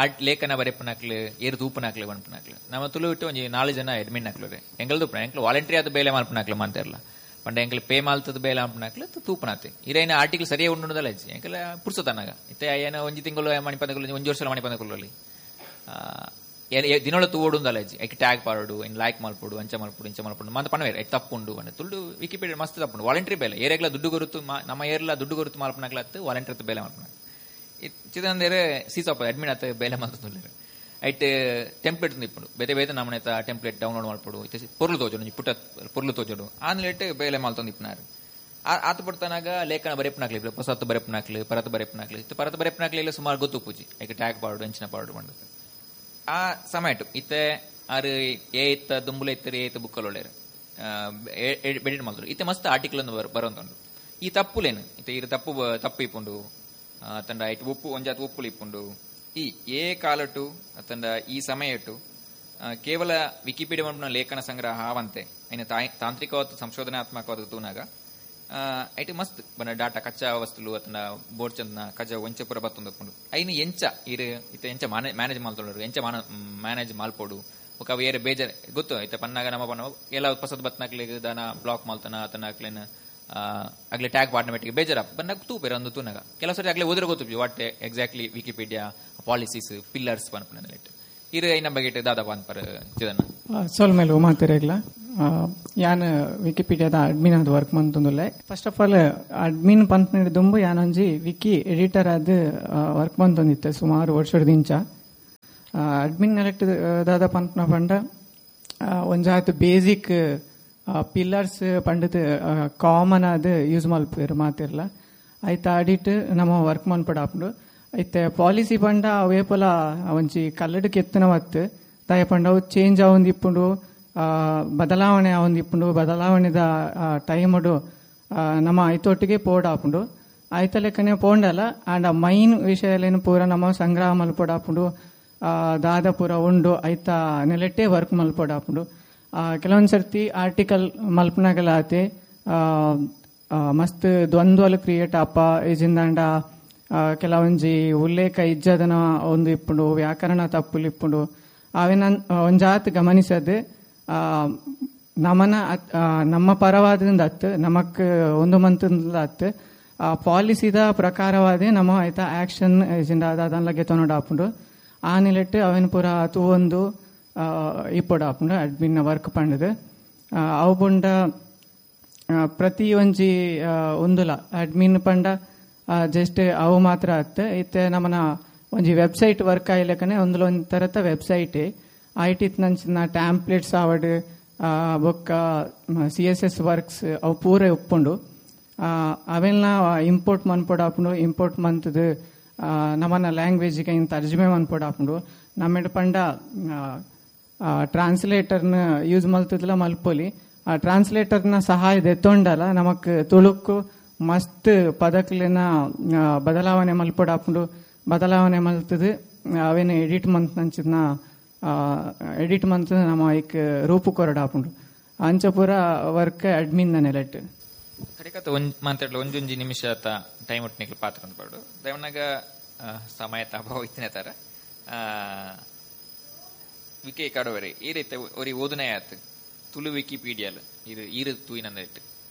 ಆರ್ಟ್ ಲೇಖನ ಬರೆಪನಾಕ್ಲು ಏರು ತೂಪನಾಕ್ಲು ಬನ್ಪನಾಕ್ಲು ನಮ್ಮ ತುಳು ಇಟ್ಟು ಒಂಜಿ 4 ಜನ ಎಡ್ಮಿನ್ ಹಾಕ್ಲು ಎಂಗಲ್ದು ಎಂಕ್ಲು ವಾಲಂಟಿಯರ್ ಆದ ಬೇಲೆ ಮಲ್ಪನಾಕ್ಲು ಮಾತಾರಲ್ಲ ಪಂಡ ಎಂಕಲ್ ಪೇ ಮಾಲ್ತದ ಬೇಲೆ ಅಂಪನಾಕ್ಲು ತೂಪನಾತೆ ಇರೈನ ಆರ್ಟಿಕಲ್ ಸರಿಯೇ ಉಂಡುದಲ್ಲ ಅಜ್ಜಿ ಎಂಕಲ್ ಪುರ್ಸತನಾಗ ಇತ್ತೆ ಏನ ಒಂಜಿ ತಿಂಗಳು ಮಣಿಪಂದకులు ಒಂಜಿ ವರ್ಷ ಮಣಿಪಂದకులు ದಿನೊಳ ತೂವೋಡುಂದಲ್ಲ ಅಜ್ಜಿ ಐಕ್ ಟ್ಯಾಗ್ ಪಾಡು ಇನ್ ಲೈಕ್ ಮಲ್ಪೊಡು ಅಂಚ ಮಲ್ಪೊಡು ಇಂಚ ಮಲ್ಪೊಡು ಮಂತ ಪಣವೇರು ಐಕ್ ತಪ್ಪುಂಡು ಅಂದ್ರೆ ತುಳು ವಿಕಿಪೀಡಿಯಾ ಮಸ್ತ್ ತಪ್ಪುಂಡು ವಾಲಂಟ್ರಿ ಬೇಲೆ ಏರೆಗ್ಲ ದುಡ್ಡು ಗುರುತು ನಮ್ಮ ಏರ್ಲ ದುಡ್ಡು ಗುರುತು ಮಲ್ಪನಾಕ್ಲತ್ತು ವಾಲಂಟ್ರಿ ಬೇಲೆ ಮಲ್ಪನಾಕ ಚಿದಂದೇರೆ ಸೀಸಪ್ಪ ಅಡ್ಮಿನ್ ಆತ ಬೇಲೆ ಮಲ್ತುಲ್ಲೇರು ಐಟ್ ಟೆಂಪ್ಲೇಟ್ ಇಪ್ಪುಂಡು ಬೇತೆ ಬೇತೆ ನಮ್ಮನೆ ಟೆಂಪ್ಲೇಟ್ ಡೌನ್ಲೋಡ್ ಮಲ್ಪೊಡು ಇತ್ತೆ ಪೊರ್ಲು ತೋಜೋಡು ಒಂಜಿ ಪುಟ್ಟ ಪೊರ್ಲು ತೋಜೋಡು ಆನ್ಲೇಟ್ ಬೇಲೆ ಮಲ್ತೊಂದು ಇಪ್ಪುನಾರು ಆತ ಪಡ್ತಾನಾಗ ಲೇಖನ ಬರೆಪನಾಕ್ಲಿ ಹೊಸತ್ತು ಬರೆಪನಾಕ್ಲಿ ಪರತ್ ಬರೆಪನಾಕ್ಲಿ ಇತ್ತೆ ಪರತ್ ಬರೆಪನಾಕ್ಲಿ ಎಲ್ಲ ಸುಮಾರು ಗೊತ್ತು ಪೂಜಿ ಐಕ್ ಟ್ಯಾಗ್ ಪಾಡು ಎಂಚಿನ ಪಾಡು ಮಂಡದು ಆ ಸಮಯಟು ಇತ್ತೆ ಆರು ಏ ಇತ್ತ ದುಂಬುಲ ಇತ್ತರು ಏ ಇತ್ತ ಬುಕ್ಕಲ್ ಒಳ್ಳೆಯರು ಎಡಿಟ್ ಮಲ್ತರು ಇತ್ತೆ ಮಸ್ತ್ ಆರ್ಟಿಕಲ್ ಒಂದು ಬರೋಂತುಂಡು ಈ ತಪ್ಪುಲೇನು ಇತ್ತೆ ಇರು ತಪ್ಪು ತಪ್ಪು ಇಪ್ಪುಂಡು ತಂಡ ಐಟ್ ಒಪ್ಪು ಒಂಜಾತ್ ಒಪ್ಪುಲು ಇಪ್ಪುಂಡು ಈ ಏ ಕಾಲಟು ಅತಂಡ ಈ ಸಮಯಟು ಕೇವಲ ವಿಕಿಪೀಡಿಯಾ ಮಲ್ಪುನ ಲೇಖನ ಸಂಗ್ರಹ ಆವಂತೆ ಐನ ತಾಂತ್ರಿಕವಾದ ಸಂಶೋಧನಾತ್ಮಕವಾದ ತೂನಾಗ ಐಟ್ ಮಸ್ತ್ ಬನ ಡಾಟಾ ಕಚ್ಚಾ ವಸ್ತುಲು ಅತಂಡ ಬೋರ್ಚಂದನ ಕಜ ಒಂಚಪುರ ಬತ್ತೊಂದು ಐನ ಎಂಚ ಇರು ಇತ್ತ ಎಂಚ ಮ್ಯಾನೇಜ್ ಮಲ್ತೊಂಡರು ಎಂಚ ಮ್ಯಾನೇಜ್ ಮಲ್ಪೊಡು ఒక వేరే ಬೇಜಾರ್ ಗೊತ್ತು ಇತ್ತ ಪನ್ನಾಗ ನಮ್ಮ ಪನ್ನ ಎಲ್ಲ ಪಸದ್ ಬತ್ನಾಕ್ಲಿಗೆ ದಾನ ಬ್ಲಾಕ್ ಮಲ್ತನ ಅತನ ಅಗ್ಲೆ ಟ್ಯಾಗ್ ಪಾಡ್ನ ಮೆಟ್ಟಿಗೆ ಬೇಜಾರ ಬನ್ನಾಗ ತೂಪೇರ ಒಂದು ತೂನಾಗ ಕೆಲವು ಸರಿ ಅಗ್ಲೆ ಓದಿರೋ ಗೊತ್ತು what exactly Wikipedia policies pillars ಪನ್ಪುನ ಇರು ಐನ ಬಗ್ಗೆ ದಾದಾ ಅನ್ಪರ್ ಚಿದನ್ನ ಸೊಲ್ಮೇಲೆ ಮಾತಿರಗ್ಲ ಯಾನ್ ವಿಕಿಪೀಡಿಯಾದ ಅಡ್ಮಿನ್ ಆದ್ ವರ್ಕ್ ಮಂತೊಂದುಲ್ಲೆ. ಫಸ್ಟ್ ಆಫ್ ಆಲ್ ಅಡ್ಮಿನ್ ಪನ್ಪುನ ದುಂಬು ಯಾನೊಂಜಿ ವಿಕಿ ಎಡಿಟರ್ ಆದ್ ವರ್ಕ್ ಮಂತೊಂದಿತ್ತೆ ಸುಮಾರು ವರ್ಷದಿಂಚ. ಅಡ್ಮಿನ್ ನೆಲೆಕ್ಟ್ ದಾದ ಪನ್ಪುನ ಪಂಡ ಒಂಜಾತ್ ಬೇಸಿಕ್ ಪಿಲ್ಲರ್ಸ್ ಪಂಡದ್ ಕಾಮನ್ ಆದ್ ಯೂಸ್ ಮಲ್ಪುವೆರ್ ಮಾತಿರ್ಲ ಐತ ಅಡಿಟ್ ನಮ ವರ್ಕ್ ಮನ್ಪೊಡಾಪುಂಡು. ಐತೆ ಪಾಲಿಸಿ ಪಂಡ ಅವೇಪಲ ಒಂಜಿ ಕಲ್ಲಡ್ ಕೆತ್ತುನ ಮತ್ತು ದಾಯ ಪಂಡ ಅವು ಚೇಂಜ್ ಆವೊಂದಿಪ್ಪುಂಡು, ಬದಲಾವಣೆ ಆವೊಂದಿಪ್ಪುಂಡು. ಬದಲಾವಣೆದ ಟೈಮುಡು ನಮ ಐತೊಟ್ಟಿಗೆ ಪೋಡಾಪುಂಡು. ಐತ ಲೆಕ್ಕನೆ ಪೋಂಡಲ ಆಂಡ ಮೈನ್ ವಿಷಯಲೇನು ಪೂರ ನಮ ಸಂಗ್ರಹ ಮಲ್ಪೊಡಾಪುಂಡು, ದಾದ ಪೂರ ಉಂಡು ಐತ ನೆಲೆಟ್ಟೆ ವರ್ಕ್ ಮಲ್ಪೊಡಾಪುಂಡು. ಕೆಲವೊಂದು ಸರ್ತಿ ಆರ್ಟಿಕಲ್ ಮಲ್ಪನಾಗಲಾತೆ ಮಸ್ತ್ ದ್ವಂದ್ವಲು ಕ್ರಿಯೇಟ್ ಆಪ ಇಜಿಂದಾಂಡ ಕೆಲವೊಂಜಿ ಉಲ್ಲೇಖ ಇಜ್ಜದನ ಒಂದು ಇಪ್ಪುಂಡು, ವ್ಯಾಕರಣ ತಪ್ಪುಲು ಇಪ್ಪುಂಡು. ಅವೇನ ಒಂಜಾತ್ ಗಮನಿಸದು ನಮನ ನಮ್ಮ ಪರವಾದಿಂದ ಅತ್ತು ನಮಕ್ ಒಂದು ಮಂತಂದ ಅತ್ತು ಪಾಲಿಸಿದ ಪ್ರಕಾರವಾದೇ ನಮ್ಮ ಆಯ್ತಾ ಆಕ್ಷನ್ ಇಜಿಂದ ಅದನ್ಲಗೆ ತೊನಡಾಪುಂಡು. ಆ ನಿಲೆಟ್ಟು ಅವೇನ ಪೂರ ತೂವೊಂದು ಇಪ್ಪೊಡಾಪುಂಡು ಅಡ್ಮಿನ್ ವರ್ಕ್ ಪಂಡದು. ಅವು ಪುಂಡ ಪ್ರತಿ ಒಂಜಿ ಒಂದುಲ ಅಡ್ಮಿನ್ ಪಂಡ ಜಸ್ಟ್ ಅವು ಮಾತ್ರ ಅತ್ತೆ ಇತ್ತೆ ನಮನ ಒಂಜಿ ವೆಬ್ಸೈಟ್ ವರ್ಕ್ ಆಯ್ಲಕನೆ ಒಂದುಲ ಒಂಜಿ ತರತ ವೆಬ್ಸೈಟ್ ಐಟಿತ್ ನಂಚಿನ ಟ್ಯಾಂಪ್ಲೆಟ್ಸ್ ಆವಡ್ ಬೊಕ್ಕ CSS works ಅವು ಪೂರ ಉಪ್ಪುಂಡು. ಅವೆಲ್ಲ ಇಂಪೋರ್ಟ್ ಮನ್ಪೊಡಾಪುಂಡು. ಇಂಪೋರ್ಟ್ ಮಂತದು ನಮನ ಲ್ಯಾಂಗ್ವೇಜ್ಗೆ ಇನ್ ತರ್ಜುಮೆ ಮನ್ಪೊಡಾಪುಂಡು. ನಮ್ಮೆಡ್ ಪಂಡ ಟ್ರಾನ್ಸ್ಲೇಟರ್ನ ಯೂಸ್ ಮಲ್ತದಲ ಮಲ್ಪೊಲಿ. ಆ ಟ್ರಾನ್ಸ್ಲೇಟರ್ನ ಸಹಾಯ ದೆತ್ತೊಂಡಲ ನಮಕ್ ತುಳುಕು ಮಸ್ತ್ ಪದಕ್ಲೆನ ಬದಲಾವಣೆ ಮಲ್ಪೊಡಾಪುಂಡು. ಬದಲಾವಣೆ ಮಲ್ತದು ಅವೇನು ಎಡಿಟ್ ಮಂತ್ ನಂಚಿನ ಎಡಿಟ್ ಮಂತ್ ನಮ್ಮ ಐಕ್ ರೂಪು ಕೊರಡಾಪುಂಡು. ಅಂಚ ಪೂರ ವರ್ಕ್ ಅಡ್ಮಿನ್ ನೆಲೆಟ್ ಕಡೆಕತ್ತ ಒಂಜ್ ಮಾತಾಡ್ಲ ಒಂಜೊಂಜಿ ನಿಮಿಷ ಟೈಮ್ ಒಟ್ಟು ಪಾತ್ರ ಅಂದ್ಪಾಡು ದಯವನಾಗ ಸಮಯ ಅಭಾವ ಇತ್ತಿನ ತರ ವಿಕೆ ಕಡವರೆ ಈ ರೀತಿ ಒರಿ ಓದನೆ ಆತು ತುಳು ವಿಕಿಪೀಡಿಯಲ್ ಇದು ಈರು ತೂಯಿನಂದ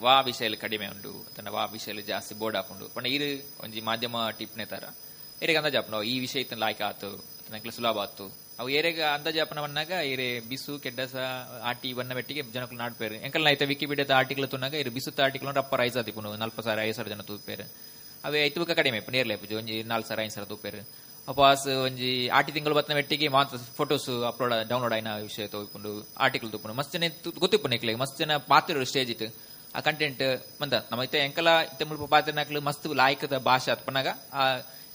ವಾ ವಿಷಯ ಕಡಿಮೆ ಉಂಡು ತನ್ನ ವಾ ವಿಷಯ ಜಾಸ್ತಿ ಬೋರ್ಡ್ ಹಾಕೊಂಡು ಪಂಡ ಈರು ಒಂಜಿ ಮಾಧ್ಯಮ ಟಿಪ್ನೆ ತರ ಏರೆಗೆ ಅಂದಾಜಾಪನ ಈ ವಿಷಯ ಇತ್ತನ ಲಾಯ್ಕ ಆತು ತನಕ್ಲೆ ಸುಲಭ ಆತು ಅವು ಏರೆಗೆ ಅಂದಾಜಾಪನ ಬಂದಾಗ ಏರೆ ಬಿಸು ಕೆಡ್ಡಸ ಆಟಿ ಬನ್ನ ಬೆಟ್ಟಿಗೆ ಜನಕ್ಕಲು ನಾಡ್ಪೇರು ಎಂಕಲ್ ಐತೆ ವಿಕಿಪೀಡಿಯಾದ ಆರ್ಟಿಕಲ್ ತುನಾಗ ಇರು ಬಿಸುತ್ತ ಆರ್ಟಿಕಲ್ ರಪ್ಪ ರೈಸ್ ಆತಿಪುನು 40,000 5,000 ಜನ ತೂಪೇರು. ಅವೇ ಐತು ಬುಕ್ಕ ಕಡಿಮೆ ನೇರ್ಲೆ ಒಂಜಿ 4,000 5,000 ತೂಪೇರು. ಅಪಾಸ್ ಒಂಜಿ ಆಟಿ ತಿಂಗಳು ಬತ್ತಿನ ಮೆಟ್ಟಿಗೆ ಮಾತ್ರ ಫೋಟೋಸ್ ಅಪ್ಲೋಡ್ ಡೌನ್ಲೋಡ್ ಆಯ್ನ ವಿಷಯ ತೋಯ್ಕೊಂಡು ಆರ್ಟಿಕಲ್ ತೂಪುಂಡು ಮಸ್ತ್ ಜನ ಗೊತ್ತಿಪ್ಪು ನಿಕ್ಲೆ ಮಸ್ತ್ ಜನ ಪಾತ್ರ ಸ್ಟೇಜ್ ಇತ್ತು ಆ ಕಂಟೆಂಟ್ ಬಂದ ನಮ್ಮ ಇತ್ತೆ ಎಂಕಲ ಇತ್ತೆ ಮುಲ್ಪ ಪಾತ್ರ ಮಸ್ತ್ ಲಾಯ್ಕದ ಭಾಷೆ ಅತ್ಪನಾಗ ಆ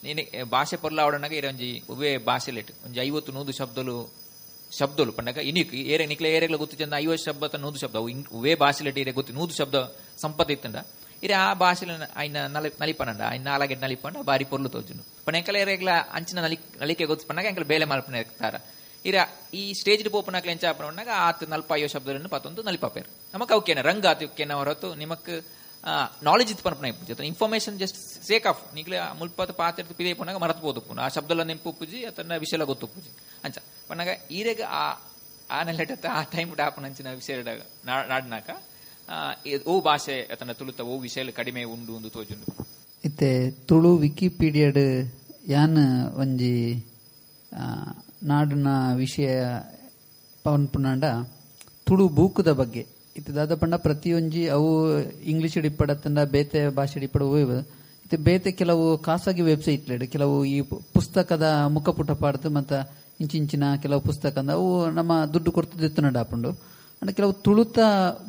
ನೀನೆ ಭಾಷೆ ಪೊರ್ಲ ಅವಡನಾಗ ಇರ ಒಂಜಿ ಉವೇ ಭಾಷೆ ಲೇಟ್ ಒಂಜಿ 50-100 ಶಬ್ದಲು ಶಬ್ದಲು ಪಂಡಗ ಇನಿಕ್ ಏರೆ ನಿಕ್ಲೆ ಏರೆಗ್ಲ ಗೊತ್ತು ಚಂದ 50 ಶಬ್ದ 100 ಶಬ್ದ ಉವೇ ಭಾಷೆ ಲೇಟ್ ಇರೆ ಗೊತ್ತು 100 ಶಬ್ದ ಸಂಪತ್ತು ಇತ್ತಂಡ ಇರೆ ಆ ಭಾಷೆ ಆಯ್ನ ನಲಿಪನಂಡ ಆಯ್ನ ನಾಲಾಗೆಟ್ ನಲಿಪಂಡ ಬಾರಿ ಪೊರ್ಲು ತೋಜುನು ಪಂಡ ಎಂಕಲ ಏರೆಗ್ಲ ಅಂಚಿನ ನಲಿಕೆ ಗೊತ್ತು ಪಂಡಾಗ ಎಂಕಲ ಬೇಲೆ ಮಲ್ಪನ ತಾರ ಇರ ಈ ಸ್ಟೇಜ್ ಪೋಪನಾಕ್ಲೆ ಎಂಚ ಪಂಡಾಗ ಆತ 40 ಶಬ್ದಗಳನ್ನು ಪತ್ತೊಂದು ನಲಿಪಾಪೇರು ನಮಕ್ ಅವಕ್ಕೇನ ರಂಗ ಆತಕ್ಕೇನ ಹೊರತು ನಿಮಕ್ ನಾಲೆಜ್ ಇತ್ತು ಪನ್ಪನ ಇಪ್ಪು ಇನ್ಫಾರ್ಮೇಶನ್ ಜಸ್ಟ್ ಸೇಕ್ ಆಫ್ ನಿಗ್ಲೆ ಮುಲ್ಪದ ಪಾತ್ರ ಪಿದೆ ಪೋನಾಗ ಮರತ್ ಪೋದು ಆ ಶಬ್ದಲ ನೆಂಪು ಪೂಜಿ ಅತನ ವಿಷಯ ಗೊತ್ತು ಪೂಜಿ ಅಂಚ ಪನ್ನಾಗ ಈರೆಗ ಆ ಆ ನೆಲೆಟ ಆ ಟೈಮ್ ಡಾಪನ ಅಂಚಿನ ವಿಷಯ ನಾಡ್ನಾಕ ಓ ಭಾಷೆ ಅತನ ತುಳುತ ಓ ವಿಷಯ ಕಡಿಮೆ ಉಂಡು ಒಂದು ತೋಜುಂಡು. ಇತ್ತೆ ತುಳು ವಿಕಿಪೀಡಿಯಾಡ್ ಯಾನ್ ಒಂಜಿ ನಾಡಿನ ವಿಷಯ ಪವನ್ ಪುನಾಂಡ ತುಳು ಬೂಕುದ ಬಗ್ಗೆ ಇತ್ತೆ ದಾದ ಪಂಡ ಪ್ರತಿಯೊಂಜಿ ಅವು ಇಂಗ್ಲಿಷ್ ಇಪ್ಪಡತ್ತಂಡ ಬೇತೆ ಭಾಷೆ ಇಪ್ಪಡ ಇತ್ತೆ ಬೇತೆ ಕೆಲವು ಖಾಸಗಿ ವೆಬ್ಸೈಟ್ ಕೆಲವು ಈ ಪುಸ್ತಕದ ಮುಖಪುಟ ಪಾಡ್ದು ಮತ್ತೆ ಇಂಚಿಂಚಿನ ಕೆಲವು ಪುಸ್ತಕ ಅಂದ ಅವು ನಮ್ಮ ದುಡ್ಡು ಕೊಡ್ತದಿತ್ತು ನಡಾಪುಂಡು. ಅಂಡ ಕೆಲವು ತುಳುತ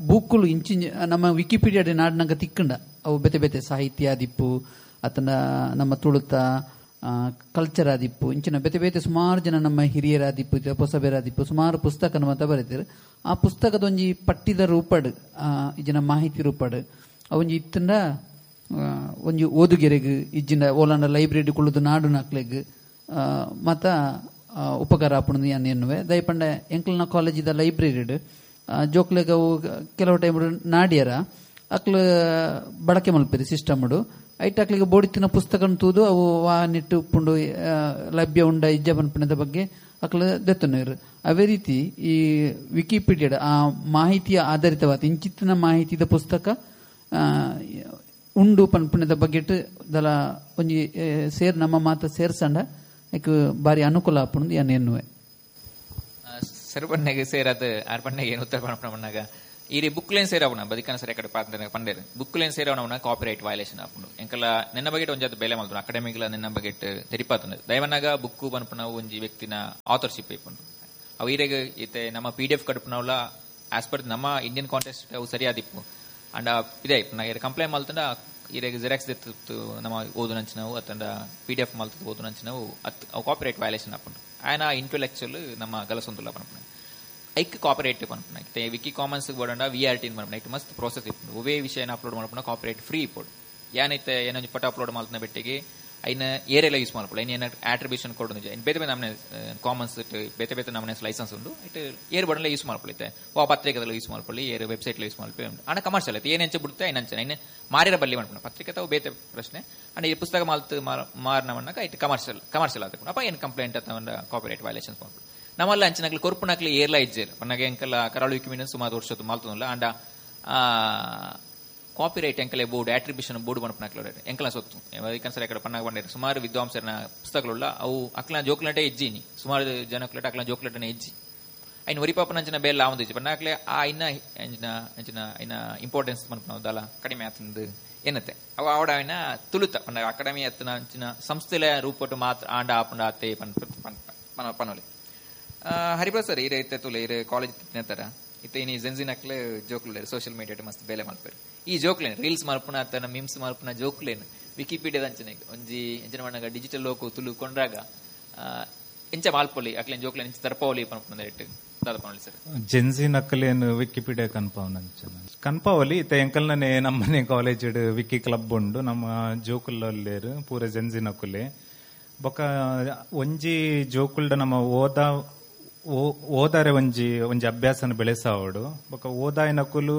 ಬೂಕುಲು ಇಂಚಿಂಚ ನಮ್ಮ ವಿಕಿಪೀಡಿಯಾ ನಾಡಿನಾಗ ತಿಕ್ಕಂಡ ಅವು ಬೇತೆ ಬೇತೆ ಸಾಹಿತ್ಯ ಆದಿಪ್ಪು ಅತನ ನಮ್ಮ ತುಳುತ ಕಲ್ಚರ್ ಆದಿಪ್ಪು ಇಂಚಿನ ಬೇತೆ ಬೇತೆ ಸುಮಾರು ಜನ ನಮ್ಮ ಹಿರಿಯರಾದಿಪ್ಪು ಪೊಸಬೇರಾದಿಪ್ಪು ಸುಮಾರು ಪುಸ್ತಕ ಮಾತ ಬರೀತಾರೆ. ಆ ಪುಸ್ತಕದ ಒಂಜಿ ಪಟ್ಟಿದ ರೂಪಡ್ ಇಜ್ಜಿನ ಮಾಹಿತಿ ರೂಪಡ್ ಅವೊಂಜಿ ಇತ್ತಂಡ ಒಂಜಿ ಓದುಗೆರೆಗ್ ಇಜ್ಜಿನ ಓಲಾಂಡ ಲೈಬ್ರರಿ ಕುಳ್ಳುದು ನಾಡು ನಾಕ್ಲೆಗ್ ಮತ ಉಪಕಾರ ಆಪುಂಡು ಯಾನ್ ಎನ್ನುವೆ. ದಯಪಂಡ ಎಂಕ್ಲನ ಕಾಲೇಜಿದ ಲೈಬ್ರರಿಡ್ ಜೋಕ್ಲೆಗ್ ಅವು ಕೆಲವು ಟೈಮ್ ನಾಡಿಯರ ಅಕ್ಲು ಬಳಕೆ ಮಲ್ಪೆರು ಸಿಸ್ಟಮ್ ಐಟ್ ಅಕ್ಲಿಗೆ ಬೋಡಿತ್ತಿನ ಪುಸ್ತಕ ತೂದು ಅವು ವಾ ನೆಟ್ಟು ಉಪ್ಪುಂಡು ಲಭ್ಯ ಉಂಡ ಇಜ್ಜ ಪನ್ಪುಣದ ಬಗ್ಗೆ ಅಕ್ಲು ದೆತ್ತನೇರು. ಅದೇ ರೀತಿ ಈ ವಿಕಿಪೀಡಿಯಾ ಆ ಮಾಹಿತಿಯ ಆಧಾರಿತವಾದ ಇಂಚಿತ್ತಿನ ಮಾಹಿತಿದ ಪುಸ್ತಕ ಉಂಡು ಪನ್ಪುಣದ ಬಗ್ಗೆ ದಲ ಒಂಜಿ ಸೇರ್ ನಮ್ಮ ಮಾತ ಸೇರ್ಸಂಡ ಬಾರಿ ಅನುಕೂಲ ಆಪುಂಡು ಯಾನ್ ಎನ್ನುವೆ. ಸರ್ ಪಣ್ಣೆಗೆ ಸೇರಾದ ಆರ್ ಪಣ್ಣೆಗೆ ಏನು ಉತ್ತರ ಪಣ್ಣಾಗ ಈ ಬುಕ್ಲೇನ್ ಸೇರವಣ ಬದಿಕನ ಸರಿ ಕಡೆ ಪಾತ್ರ ಪಂಡೇರು ಬುಕ್ಲೇನ್ ಸೇರವಣ ಕಾಪಿರೈಟ್ ವಯಲೇಷನ್ ಆಪುಂಡು. ಎಂಕಲ ನಿನ್ನ ಬಗ್ಗೆ ಒಂಜಾತ ಬೇಲೆ ಮಲ್ತು ಅಕಾಡೆಮಿಕ್ಲ ನಿನ್ನ ಬಗ್ಗೆ ತೆರಿಪಾತಂಡ ದಯವನಾಗ ಬುಕ್ಕು ಪನ್ಪುನ ಒಂಜಿ ವ್ಯಕ್ತಿನ ಆಥರ್ಶಿಪ್ ಇಪ್ಪುಂಡು. ಅವು ಈರೆಗ್ ಇತ್ತೆ ನಮ್ಮ PDF ಕಡುಪುನವಲ ಆಸ್ ಪರ್ ನಮ್ಮ ಇಂಡಿಯನ್ ಕಾಂಟೆಕ್ಸ್ಟ್ ಅವು ಸರಿಯಾದಿಪ್ಪು. ಅಂಡ ಇದೇ ಇಪ್ಪು ಕಂಪ್ಲೇಂಟ್ ಮಲ್ತಂಡ ಈರೆಗ್ ಜೆರಾಕ್ಸ್ ದೆತ್ತು ನಮ್ಮ ಓದು ನಂಚಿನವು ಅತ್ತಂಡ PDF ಮಲ್ತದ ಓದು ನಂಚಿನವು ಅತ್ ಅವು ಕಾಪಿರೈಟ್ ವಯಲೇಷನ್ ಆಪುಂಡು. ಆಯನ ಇಂಟೆಲೆಕ್ಚುಯಲ್ ನಮ್ಮ ಗಲಸೊಂದುಲ್ಲ ಪನ್ಪುನ ಐಕ್ ಕಾಪಿರೈಟ್ ಪನ್ಪುನ ಇತ್ತೆ ವಿಕಿ ಕಾಮನ್ಸ್ ಬೋಡಂಡ VRT ಪನ್ಪುನ ಇಟ್ಟು ಮಸ್ತ್ ಪ್ರಾಸೆಸ್ ಇಪ್ಪುಂಡು. ಒವೇ ವಿಷಯನ ಅಪ್ಲೋಡ್ ಮಲ್ಪುನ ಕಾಪಿರೈಟ್ ಫ್ರೀ ಇಪ್ಪುಂಡು. ಯಾನೈತೆ ಏನೊಂಜಿ ಫೋಟೋ ಅಪ್ಲೋಡ್ ಮಲ್ತನ ಬೆಟ್ಟಿಗೆ ಐನ ಏರೆಲ್ಲ ಯೂಸ್ ಮಲ್ಪುಂಡು. ಐನ ಏನ ಆಟ್ರಿಬ್ಯೂಷನ್ ಕೊಡು ಬೇತೆ ಬೇತೆ ನಮ್ಮನೆ ಕಾಮನ್ಸ್ ಬೇತೆ ಬೇತೆ ನಮ್ಮನೆ ಲೈಸೆನ್ಸ್ ಉಂಡು ಇಟ್ಟು ಏರ್ ಬೋಡಲ್ಲ ಯೂಸ್ ಮಲ್ಪೊಳಿ ಇತ್ತೆ ವಾ ಪತ್ರಿಕೆದಲ್ಲ ಯೂಸ್ ಮಲ್ಪೊಳಿ ಏರ್ ವೆಬ್ಸೈಟ್ ಯೂಸ್ ಮಲ್ಪಿ ಉಂಡು. ಅಂಡ ಕಮರ್ಷಿಯಲ್ ಐತೆ ಏನಂಚ ಬಿಡುತ್ತೆ ಐನಂಚ ಐನ ಮಾರಿರ ಬಲ್ಲಿ ಮಲ್ಪುಂಡು ಪತ್ರಿಕೆ ತಾವು ಬೇತೆ ಪ್ರಶ್ನೆ. ಅಂಡ್ ಈ ಪುಸ್ತಕ ಮಾಲ್ತು ಮಾರನ ಮಣ್ಣಾಗ ಇಟ್ಟು ಕಮರ್ಷಿಯಲ್ ಕಮರ್ಷಿಯಲ್ ಆತಕೊಂಡು ಅಪ್ಪ ಏನು ಕಂಪ್ಲೇಂಟ್ ಅಥವಾ ಕಾಪಿರೈಟ್ ವಯಲೇಷನ್ಸ್ ಮಲ್ಪುಂಡು. ನಮ್ಮಲ್ಲ ಅಂಚಿನಕ್ಲು ಕೊರ್ಪುನಕ್ಲು ಏರ್ಲ ಇಜ್ಜೇರು ಪನ್ನಗ ಎಂಕಲ ಕರಾಳು ವಿಕಿಮೀಡಿಯನ್ ಸುಮಾರು ವರ್ಷದ ಮಾಲ್ತದಲ್ಲ. ಅಂಡ ಕಾಪಿರೈಟ್ ಎಂಕಲೆ ಬೋರ್ಡ್ ಆಟ್ರಿಬ್ಯೂಷನ್ ಬೋರ್ಡ್ ಪನ್ಪುನಕ್ಲು ಎಂಕಲ ಸೊತ್ತು ಸರಿ ಕಡೆ ಪನ್ನಾಗ ಬಂಡೇರು ಸುಮಾರು ವಿದ್ವಾಂಸರನ ಪುಸ್ತಕಗಳುಳ್ಳ ಅವು ಅಕ್ಲ ಜೋಕ್ಲಟೆ ಇಜ್ಜಿನಿ ಸುಮಾರು ಜನಕ್ಲಟ ಅಕ್ಲ ಜೋಕ್ಲಟನೆ ಇಜ್ಜಿ ಐನ್ ಒರಿಪಾಪನ ಅಂಚಿನ ಬೇಲ ಆವಂದು ಇಜ್ಜಿ ಪನ್ನಾಕ್ಲೆ ಆ ಇನ್ನ ಅಂಚಿನ ಅಂಚಿನ ಇನ್ನ ಇಂಪಾರ್ಟೆನ್ಸ್ ಪನ್ಪುನವು ದಾಲ ಕಡಿಮೆ ಆತಂದು ಏನತ್ತೆ ಅವು ಆವಡ ಐನ ತುಳುತ ಪನ್ನ ಅಕಾಡೆಮಿ ಅತ್ತನ ಅಂಚಿನ ಸಂಸ್ಥೆಲ ರೂಪಟ್ಟು ಮಾತ್ರ ಆಂಡ ಆಪುಂಡ ಆತೆ ಪನ್ಪ ಪನೊಲಿ. ಹರಿಪ್ರಸಾದ್ ಸರ್ ಈರೆ ಇತ್ತೆ ತುಲೆ ಈರೆ ಕಾಲೇಜ್ ತರ ಇತ್ತೆ ಇನಿ ಜೆನ್ಜಿನಕ್ಲೆ ಜೋಕ್ಲು ಸೋಷಿಯಲ್ ಮೀಡಿಯಾ ಮಸ್ತ್ ಬೇಲೆ ಮಲ್ಪೇರು. ಈ ಜೋಕ್ಲೇನು ರೀಲ್ಸ್ ಮಲ್ಪುನ ಅತ್ತನ ಮೀಮ್ಸ್ ಮಲ್ಪುನ ಜೋಕ್ಲೇನು ವಿಕಿಪೀಡಿಯಾದ ಅಂಚನೆ ಒಂಜಿ ಎಂಚಿನ ಮಣ್ಣಾಗ ಡಿಜಿಟಲ್ ಲೋಕ ತುಳು ಕೊಂಡ್ರಾಗ ಎಂಚ ಮಾಲ್ಪೊಲಿ ಅಕ್ಲೇನ್ ಜೋಕ್ಲೇನ್ ಎಂಚ ತರ್ಪವಲಿ ಪನ್ಪುನ ಇಟ್ಟು ದಾದ ಪನೊಲಿ ಸರ್. ಜೆನ್ಜಿ ನಕ್ಕಲೇನು ವಿಕಿಪೀಡಿಯಾ ಕನ್ಪಾವನ ಅಂಚನ ಕನ್ಪಾವಲಿ ಇತ್ತೆ ಎಂಕಲ್ನೇ ನಮ್ಮನೆ ಕಾಲೇಜ್ ವಿಕಿ ಕ್ಲಬ್ ಉಂಡು ನಮ್ಮ ಜೋಕುಲ್ಲೇರು ಪೂರ ಜೆನ್ಜಿ ನಕ್ಕುಲೆ ಬೊಕ ಒಂಜಿ ಜೋಕುಲ್ಡ ನಮ್ಮ ಓದ ಓದಾರೆ ಒಂಜಿ ಒಂಜಿ ಅಭ್ಯಾಸನ ಬೆಳೆಸಾವಡು ಬೊಕ ಓದಾಯನಕುಲು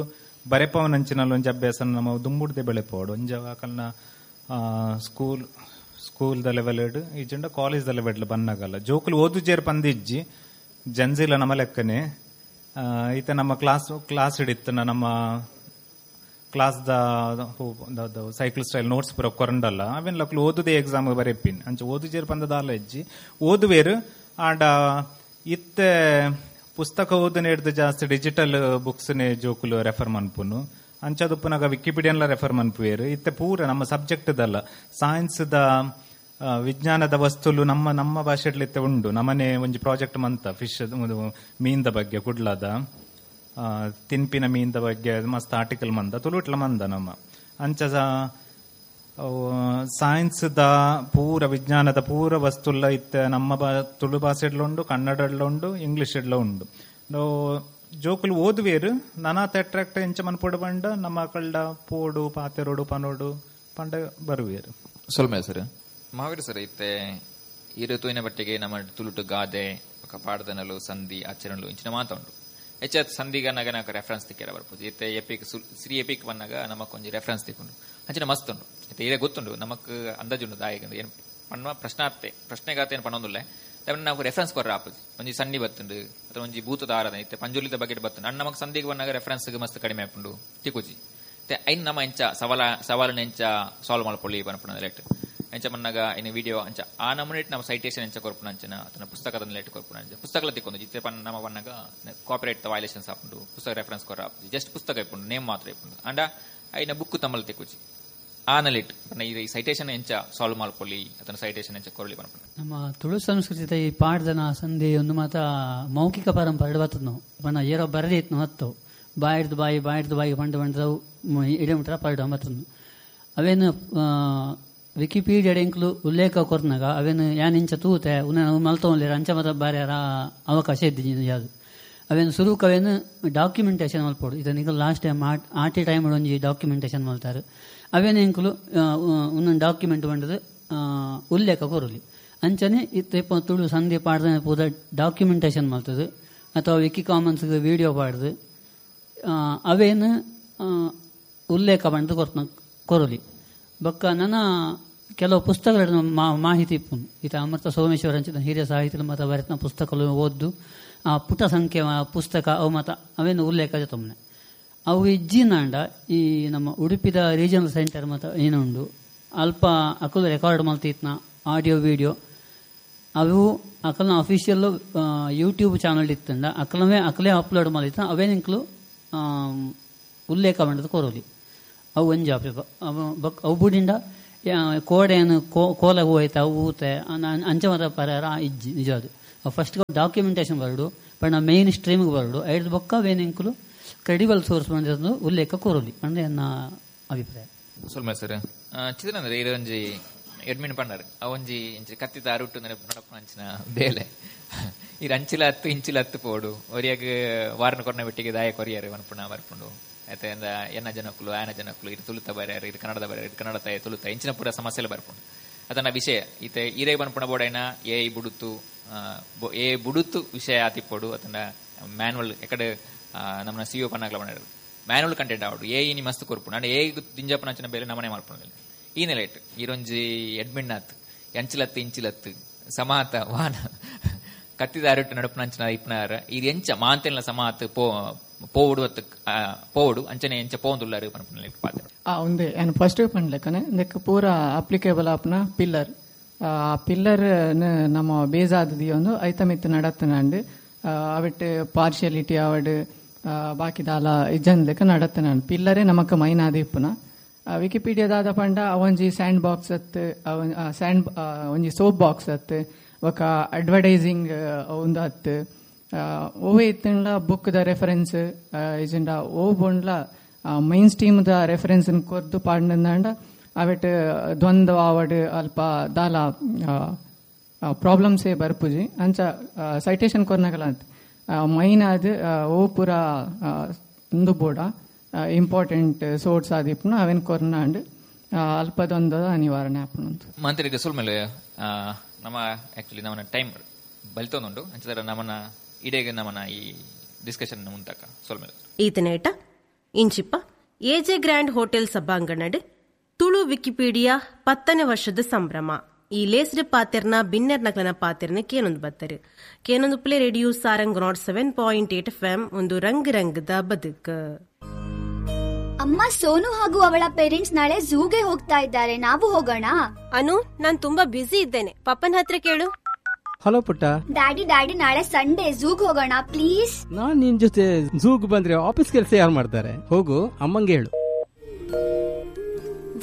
ಬರೆಪವನಂಚಿನಲ್ಲಿ ಒಂಜಿ ಅಭ್ಯಾಸನ ನಮ್ಮ ದುಂಬುಡ್ದೆ ಬೆಳೆಪವಡು ಒಂಜಿ ಅಕಲ್ನ ಸ್ಕೂಲ್ ಸ್ಕೂಲ್ ದ ಲೆವೆಲ್ ಇಜ್ಜಂಡ ಕಾಲೇಜ್ ದ ಲೆವೆಲ್ ಬನ್ನಗಲ್ಲ ಜೋಕುಲು ಓದು ಜೇರ್ ಪಂದಿಜ್ಜಿ ಜನ್ಜಿಲ ನಮ್ಮ ಲೆಕ್ಕನೆ ಈತ ನಮ್ಮ ಕ್ಲಾಸ್ ಕ್ಲಾಸ್ ಹಿಡಿತನ ನಮ್ಮ class the cycle style notes ಪೂರ ಕೊರಂಡಲ್ಲ ಅವೇನ್ ಲಕ್ಲು ಓದುದೇ ಎಕ್ಸಾಮ್ ಬರೆಪಿನ್ ಅಂಚ ಓದು ಜೇರ್ ಪಂದದಾಲ ಇಜ್ಜಿ ಓದುವೇರು. ಆಂಡ ಇತ್ತೆ ಪುಸ್ತಕ ಓದನೆ ಹಿಡ್ದು ಜಾಸ್ತಿ ಡಿಜಿಟಲ್ ಬುಕ್ಸ್ ನೇ ಜೋಕುಲು ರೆಫರ್ ಮನ್ಪುನು ಅಂಚದುಪ್ಪುನಾಗ ವಿಕಿಪೀಡಿಯನ್ಲ ರೆಫರ್ ಮನ್ಪುವೇರು. ಇತ್ತೆ ಪೂರ ನಮ್ಮ ಸಬ್ಜೆಕ್ಟ್ ದಲ್ಲ ಸೈನ್ಸ್ the ವಿಜ್ಞಾನದ ವಸ್ತುಲು ನಮ್ಮ ನಮ್ಮ ಭಾಷೆಡ್ಲಿ ಇತ್ತೆ ಉಂಡು. ನಮ್ಮನೆ ಒಂಜಿ ಪ್ರಾಜೆಕ್ಟ್ ಮಂತ ಫಿಶ್ ಮೀನ್ದ ಬಗ್ಗೆ ಕುಡ್ಲದ ತಿನ್ಪಿನ ಮೀನ್ದ ಬಗ್ಗೆ ಮಸ್ತ್ ಆರ್ಟಿಕಲ್ ಮಂದ ತುಳುಟ್ಲ ಮಂದ ನಮ್ಮ ಅಂಚ ಸೈನ್ಸ್ the ಪೂರ ವಿಜ್ಞಾನದ ಪೂರ ವಸ್ತುಲ್ಲ ಇತ್ತೆ ನಮ್ಮ ತುಳು ಭಾಷೆಡ್ಲ ಉಂಡು, ಕನ್ನಡಡ್ಲ ಉಂಡು, ಇಂಗ್ಲಿಷ್ ಎಡ್ಲ ಉಂಡು. ಜೋಕುಲು ಓದುವೇರು ನಾನಾತ ಅಟ್ರಾಕ್ಟ್ ಎಂಚ ಮನ್ಪೊಡು ಪಂಡ ನಮ್ಮ ಕಳ್ಳ ಪೋಡು ಪಾತೆರೋಡು ಪನೋಡು ಪಂಡ ಬರುವೇರು. ಸೊಲ್ಮೆ ಸರ್ ಮಹಾವೀರ್ ಸರ್ ಇತ್ತೆ ಈ ಋತುವಿನ ಬಟ್ಟಿಗೆ ನಮ್ಮ ತುಳುಟು ಗಾದೆ ಪಾಡ್ದನಲು ಸಂಧಿ ಆಚರಣಲು ಇಂಚಿನ ಮಾತ ಉಂಟು. ಹೆಚ್ಚಾದ ಸಂಧಿಗನಾಗ నాకు ರೆಫರೆನ್ಸ್ ತಿಕ್ಕೆರ ಬರ್ಪುಜಿ ಇತ್ತೆ ಎಪಿಕ್ ಶ್ರೀ ಎಪಿಕ್ ಬಂದಾಗ ನಮಕ್ ಒಂಜಿ ರೆಫರೆನ್ಸ್ ತಿಕ್ಕೊಂಡು ಅಂಚಿನ ಮಸ್ತ್ ಉಂಡು. ಇತ್ತೆ ಇದೇ ಗೊತ್ತುಂಡು ನಮಕ್ ಅಂದಾಜುಂಡು ದಾಯಕ ಏನು ಪಣ್ಣ ಪ್ರಶ್ನಾರ್ಥೆ ಪ್ರಶ್ನೆಗಾತೆ ಏನು ಪಣ್ಣೊಂದುಲ್ಲೆ. ನಾವು ರೆಫರೆನ್ಸ್ ಕೊರ್ರ ಆಪುಜಿ. ಒಂಜಿ ಸಂಡಿ ಬತ್ತುಂಡು ಅಥವಾ ಒಂಜಿ ಭೂತದ ಆರಾಧನೆ ಇತ್ತೆ ಪಂಜುರ್ಲಿದ ಬಗ್ಗೆ ಬತ್ತುಂಡು ಅಣ್ಣ ನಮಕ್ ಸಂದಿಗೆ ಬಂದಾಗ ರೆಫರೆನ್ಸ್ ಮಸ್ತ್ ಕಡಿಮೆ ಆಪುಂಡು ತಿಕ್ಕುಜಿ. ಐನ್ ನಮ್ಮ ಎಂಚ ಸವಾಲನ್ನ ಎಂಚ ಸಾಲ್ವ್ ಮಲ್ಪೊಲಿ ಪನ್ಪುನ ಲೇಟ್ ಎಂಚ ಮನ್ನಾಗ ಇನ್ನು ವಿಡಿಯೋ ಅಂಚ ಆ ನಮೂನೆ ನಮ್ಮ ಸೈಟೇಷನ್ ಎಂಚ ಕೊರ್ಪುನ ಅಂಚನ ಅಥವಾ ಪುಸ್ತಕದ ಲೇಟ್ ಕೊರ್ಪುನ ಅಂಚ ಪುಸ್ತಕಲ ತಿಕ್ಕೊಂದು ಜಿತ್ತೆ ಪನ್ ನಮ್ಮ ಬನ್ನಾಗ ಕಾಪಿರೈಟ್ ವೈಲೇಷನ್ಸ್ ಆಪುಂಡು ಪುಸ್ತಕ ರೆಫರೆನ್ಸ್ ಕೊರ ಆಪುಜಿ ಜಸ್ಟ್ ಪುಸ್ತಕ ಇಪ್ಪುಂಡು ನೇಮ್ ಮಾತ್ರ ಇಪ್ಪುಂಡು ಅಂಡ ಐನ ಬುಕ್ ತಮ್ಮಲ್ ತಿಕ್ಕುಜಿ ಆನಲಿಟ್ ಈ ಸೈಟೇಷನ್ ಎಂಚ ಸಾಲ್ವ್ ಮಲ್ಪೊಲಿ ಅಥವಾ ಸೈಟೇಷನ್ ಎಂಚ ಕೊರಲಿ ಪನ್ಪುನ. ನಮ್ಮ ತುಳು ಸಂಸ್ಕೃತಿದ ಈ ಪಾಡ್ದನ ಸಂಧಿ ಒಂದು ಮಾತ ಮೌಖಿಕ ಪರಂಪರೆ ಬರ್ತದ ನಾವು ಪಂಡ ಏರೋ ಬರದೇ ಇತ್ತು ಹತ್ತು ಬಾಯಿಡ್ದು ಬಾಯಿ ಬಾಯಿಡ್ದು ಬಾಯಿ ಪಂಡ ಪಂಡವು ಇಡಮುಟ್ರ ಪರಡು ಬರ್ತದ. ಅವೇನು ವಿಕಿಪೀಡಿಯಾ ಎಂಕ್ಲು ಉಲ್ಲೇಖ ಕೊರ್ನಾಗ ಅವೇನು ಯಾನ್ ಇಂಚ ತೂತೆ ಉನ್ನ ಮಲ್ತೊಂದಿರ ಅಂಚ ಮಾತ್ರ ಬಾರ್ಯಾರ ಅವಕಾಶ ಇದ್ದಿ ಯಾವುದು ಅವೇನು ಸುರುಕ್ ಅವೇನು ಡಾಕ್ಯುಮೆಂಟೇಶನ್ ಮಲ್ಪೋಡು. ಇದನ್ನ ಲಾಸ್ಟ್ ಟೈಮ್ ಆಟಿ ಟೈಮ್ ಒಂಜಿ ಡಾಕ್ಯುಮೆಂಟೇಶನ್ ಮಲ್ತಾರೆ ಅವೇನು ಎಂಕ್ಲು ಒಂದೊಂದು ಡಾಕ್ಯುಮೆಂಟ್ ಬಂಡದು ಉಲ್ಲೇಖ ಕೊರಲಿ ಅಂಚನೆ ಇತ್ತ ತುಳು ಸಂಧಿ ಪಾಡ್ದ ಪೂರ ಡಾಕ್ಯುಮೆಂಟೇಶನ್ ಮಲ್ತದೆ ಅಥವಾ ವಿಕಿ ಕಾಮನ್ಸ್ಗೆ ವೀಡಿಯೋ ಪಾಡ್ದು ಅವೇನು ಉಲ್ಲೇಖ ಬಂದು ಕೊರಲಿ. ಬೊಕ್ಕ ನನ್ನ ಕೆಲವು ಪುಸ್ತಕಗಳ ಮಾಹಿತಿ ಇಪ್ಪುನು ಈತ ಅಮೃತ ಸೋಮೇಶ್ವರ ಅಂಚಿನ ಹಿರಿಯ ಸಾಹಿತ್ಯ ಮತ್ತು ಬರೆತನ ಪುಸ್ತಕಗಳು ಓದ್ದು ಆ ಪುಟ ಸಂಖ್ಯೆ ಪುಸ್ತಕ ಅವು ಮಾತ ಅವೇನು ಉಲ್ಲೇಖ ಜೊತೆ ಅವು ಇಜ್ಜಿನಾಂಡ ಈ ನಮ್ಮ ಉಡುಪಿದ ರೀಜನಲ್ ಸೆಂಟರ್ ಮತ್ತು ಏನುಂಡು ಅಲ್ಪ ಅಕಲು ರೆಕಾರ್ಡ್ ಮಲ್ತಿತ್ನ ಆಡಿಯೋ ವಿಡಿಯೋ ಅವು ಅಕಲ್ನ ಅಫಿಷಿಯಲ್ ಯೂಟ್ಯೂಬ್ ಚಾನಲ್ ಇತ್ತಂಡ ಅಕಲವೇ ಅಕಲೇ ಅಪ್ಲೋಡ್ ಮಲ್ತಿತ್ತ ಅವೇನಿಂಕ್ಲು ಉಲ್ಲೇಖ ಮಾಡೋದು ಕೊರೋಲಿ. ಅವು ಒಂಜಿ ಅವು ಬುಡಿಂಡ ಕೋಡೆಯನ್ನು ಕೋಲ ಹೋಯ್ತ ಅವು ಊತೆ ಅಂಚ ಮತ ಪರ್ಯಾರ ಇಜ್ಜಿ ನಿಜ ಅದು ಫಸ್ಟ್ ಡಾಕ್ಯುಮೆಂಟೇಶನ್ ಬರಡು ಪಂಡ ಮೇನ್ ಸ್ಟ್ರೀಮ್ಗೆ ಬರಡು ಐದು ಬೊಕ್ಕ ವೇನೆಂಕುಲು ಕ್ರೆಡಿಬಲ್ ಸೋರ್ಸ್ ಬಂದಿರೋದು ಉಲ್ಲೇಖ ಕೋರಲಿ ಅಂದ್ರೆ ನನ್ನ ಅಭಿಪ್ರಾಯ. ಸೊಲ್ಮ ಸರ್ ಚಿತ್ರಂದ್ರೆ ಇದೊಂಜಿ ಎಡ್ಮಿನ್ ಪಂಡರ್ ಅವೊಂಜಿ ಇಂಚಿ ಕತ್ತಿದ ಅರುಟ್ಟು ನಡಪುನ ಅಂಚಿನ ಬೇಲೆ ಈ ಅಂಚಿಲ ಹತ್ತು ಇಂಚಿಲ ಹತ್ತು ಪೋಡು ಒರಿಯಾಗ ವಾರನ ಕೊರ್ನ ಬೆಟ್ಟಿಗೆ ದಾಯ ಕೊರಿಯಾರು ಮನ್ಪುಣ ಬರ್ಪುಂಡು ಆಯ್ತಾ ಎನ್ನ ಜನಕ್ಕಲು ಆಯನ ಜನಕ್ಕಲು ಇದು ತುಳುತ ಬರ್ಯಾರು ಇದು ಕನ್ನಡದ ಬರ್ಯಾರು ಇದು ಕನ್ನಡ ತಾಯ ತುಳುತ ಇಂಚಿನ ಪೂರ ಸಮಸ್ಯೆಲ್ಲ ಬರ್ಪುಂಡು. ಅದನ್ನ ವಿಷಯ ಈತ ಈರೇ ಬನ್ಪುಣ ಬೋಡೈನ ಏ ಬುಡುತು ಏ ಬುಡುತು ವಿಷಯ ಆತಿಪ್ಪೋಡು ಅದನ್ನ ಮ್ಯಾನ್ವಲ್ ಎಕಡೆ ನಮ್ಮನ್ನ ಸಿ ಒ ಪನ್ನಾಗ್ಲ ಬಂದಿರೋದು ಮ್ಯಾನ್ವಲ್ ಕಂಟೆಂಟ್ ಆವಡು ಏ ಇನಿ ಮಸ್ತ್ ಕೊರ್ಪುಂಡು ಅಂಡ್ ಏ ದಿಂಜಪ್ಪನ ಅಂಚಿನ ಬೇಲೆ ನಮನೆ ಮಲ್ಪುಂಡು ಈ ನೆಲೆಟ್ ಈರೊಂಜಿ ಎಡ್ಮಿನ್ ಆತ್ ಎಂಚಿಲತ್ತು ಇಂಚಿಲತ್ತು ಸಮಾತ ವಾನ ಕತ್ತಿದ ಅರಟು ನಡಪುನ ಇಪ್ಪನಾರ ಇದು ಎಂಚ ಮಾಂತೆಲ್ಲ ಸಮಾತ್ ಪೋವುಡು ಪೋವುಡು ಅಂಚನೆ ಎಂಚ ಪೋಂದುಲ್ಲಾರು ಪನ್ಪುನ ಪಾತ್ರ. ಒಂದೇ ನಾನು ಫಸ್ಟ್ ಪನ್ಲೆಕ್ಕನೆ ಇದಕ್ಕೆ ಪೂರ ಅಪ್ಲಿಕೇಬಲ್ ಆಪ್ನ ಪಿಲ್ಲರ್ ಆ ಪಿಲ್ಲರ್ ನಮ್ಮ ಬೇಜಾದದಿ ಒಂದು ಐತಮಿತ್ತು ನಡತ್ತನಾಂಡ್ ಅವಿಟ್ಟು ಪಾರ್ಷಿಯಾಲಿಟಿ ಅವಡು ಬಾಕಿದಾಲ ಇಜ್ಜನ್ಲೆಕ್ಕ ನಡತ್ತನಾಂಡ್ ಪಿಲ್ಲರೇ ನಮಕ್ ಮೈನಾದ ಇಪ್ಪುನ. ವಿಕಿಪೀಡಿಯಾದಾದ ಪಂಡ ಅವೊಂಜಿ ಸ್ಯಾಂಡ್ ಬಾಕ್ಸ್ ಅತ್ತು ಸ್ಯಾಂಡ್ ಒಂಜಿ ಸೋಪ್ ಬಾಕ್ಸ್ ಅತ್ತು ಬೊಕ ಅಡ್ವರ್ಟೈಸಿಂಗ್ ಒಂದು ಅತ್ತು ಓವೇ ಇತ್ತಂಡ್ಲ ಬುಕ್ ದ ರೆಫರೆನ್ಸ್ ಇಜಂಡ ಓ ಬೊಂಡ್ಲ ಮೈನ್ ಸ್ಟ್ರೀಮ್ ದ ರೆಫರೆನ್ಸ್ ಕೊರ್ದು ಪಾಡ್ನಂದಾಂಡ ಅವೆಟ್ ದ್ವಂದ್ವ ಆವಡ್ ಅಲ್ಪ ದಾಲ ಪ್ರಾಬ್ಲಮ್ಸೇ ಬರ್ಪುಜಿ ಅಂಚ ಸೈಟೇಷನ್ ಕೊರ್ನಗಲ ಅಂತ ಮೈನ್ ಆದ್ ಓ ಪೂರ ಉಂದು ಬೋಡ ಇಂಪಾರ್ಟೆಂಟ್ ಸೋರ್ಸ್ ಆದಿಪ್ಪುನ ಅವೇನ್ ಕೊರ್ನಾಂಡ್ ಅಲ್ಪದೊಂದದ ನಿವಾರಣೆ ಆಪುನಂತು. ಮಂತ್ರಿಗೆ ಸುಲ್ಮೇಲೆ ನಮ್ಮ ಆಕ್ಚುಲಿ ನಮ್ಮನ್ನ ಟೈಮ್ ಬಲಿತೊಂದುಂಡು ಅಂಚದರ ನಮ್ಮನ್ನ ಇಡೀಗ ನಮ್ಮನ್ನ ಈ ಡಿಸ್ಕಷನ್ ಮುಂತಾಕ ಸೊಲ್ಮೇಲೆ. ಈತನೇಟ ಇಂಚಿಪ್ಪ ಎಜೆ ಗ್ರ್ಯಾಂಡ್ ಹೋಟೆಲ್ ಸಭಾಂಗಣಡ್ ತುಳು ವಿಕಿಪೀಡಿಯಾ 10ನೇ ವರ್ಷದ ಸಂಭ್ರಮ ಈ ಲೇಸ್ಡ್ ಪಾತೆರ್ನ ಬಿನ್ನೆರ್ ನಕಲನ ಪಾತೆರ್ನ ಕೇನೊಂದು ಬತ್ತರು ಕೇನೊಂದು play radio Sarang 107.8 FM ಒಂದು ರಂಗ್ ರಂಗದ ಬದುಕು. ಅಮ್ಮ, ಸೋನು ಹಾಗೂ ಅವಳ ಪೇರೆಂಟ್ಸ್ ನಾಳೆ ಝೂಗೆ ಹೋಗ್ತಾ ಇದ್ದಾರೆ, ನಾವು ಹೋಗೋಣ? ಅನು, ನಾನ್ ತುಂಬಾ ಬ್ಯುಸಿ ಇದ್ದೇನೆ, ಪಪ್ಪನ ಹತ್ರ ಕೇಳು. ಹಲೋ ಪುಟ್ಟ. ಡ್ಯಾಡಿ ಡ್ಯಾಡಿ, ನಾಳೆ ಸಂಡೇ ಝೂಗ್ ಹೋಗೋಣ ಪ್ಲೀಸ್. ನಾನ್ ನಿನ್ ಜೊತೆ ಝೂಗ್ ಬಂದ್ರೆ ಆಫೀಸ್ ಕೆಲಸ ಯಾರು ಮಾಡ್ತಾರೆ? ಹೋಗು, ಅಮ್ಮಂಗೆ ಹೇಳು.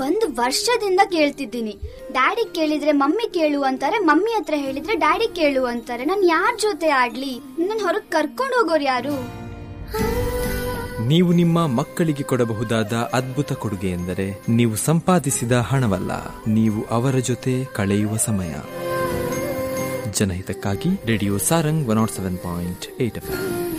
ಒಂದು ವರ್ಷದಿಂದ ಕೇಳ್ತಿದ್ದೀನಿ, ಡ್ಯಾಡಿ ಕೇಳಿದ್ರೆ ಮಮ್ಮಿ ಕೇಳು ಅಂತಾರೆ, ಮಮ್ಮಿ ಹತ್ರ ಹೇಳಿದ್ರೆ ಡ್ಯಾಡಿ ಕೇಳು ಅಂತಾರೆ. ನಾನ್ ಯಾರ್ ಜೊತೆ ಆಡ್ಲಿ? ನನ್ ಹೊರಗ್ ಕರ್ಕೊಂಡು ಹೋಗೋರು ಯಾರು? ನೀವು ನಿಮ್ಮ ಮಕ್ಕಳಿಗೆ ಕೊಡಬಹುದಾದ ಅದ್ಭುತ ಕೊಡುಗೆ ಎಂದರೆ ನೀವು ಸಂಪಾದಿಸಿದ ಹಣವಲ್ಲ, ನೀವು ಅವರ ಜೊತೆ ಕಳೆಯುವ ಸಮಯ. ಜನಹಿತಕ್ಕಾಗಿ ರೇಡಿಯೋ ಸಾರಂಗ್ 107.8 FM.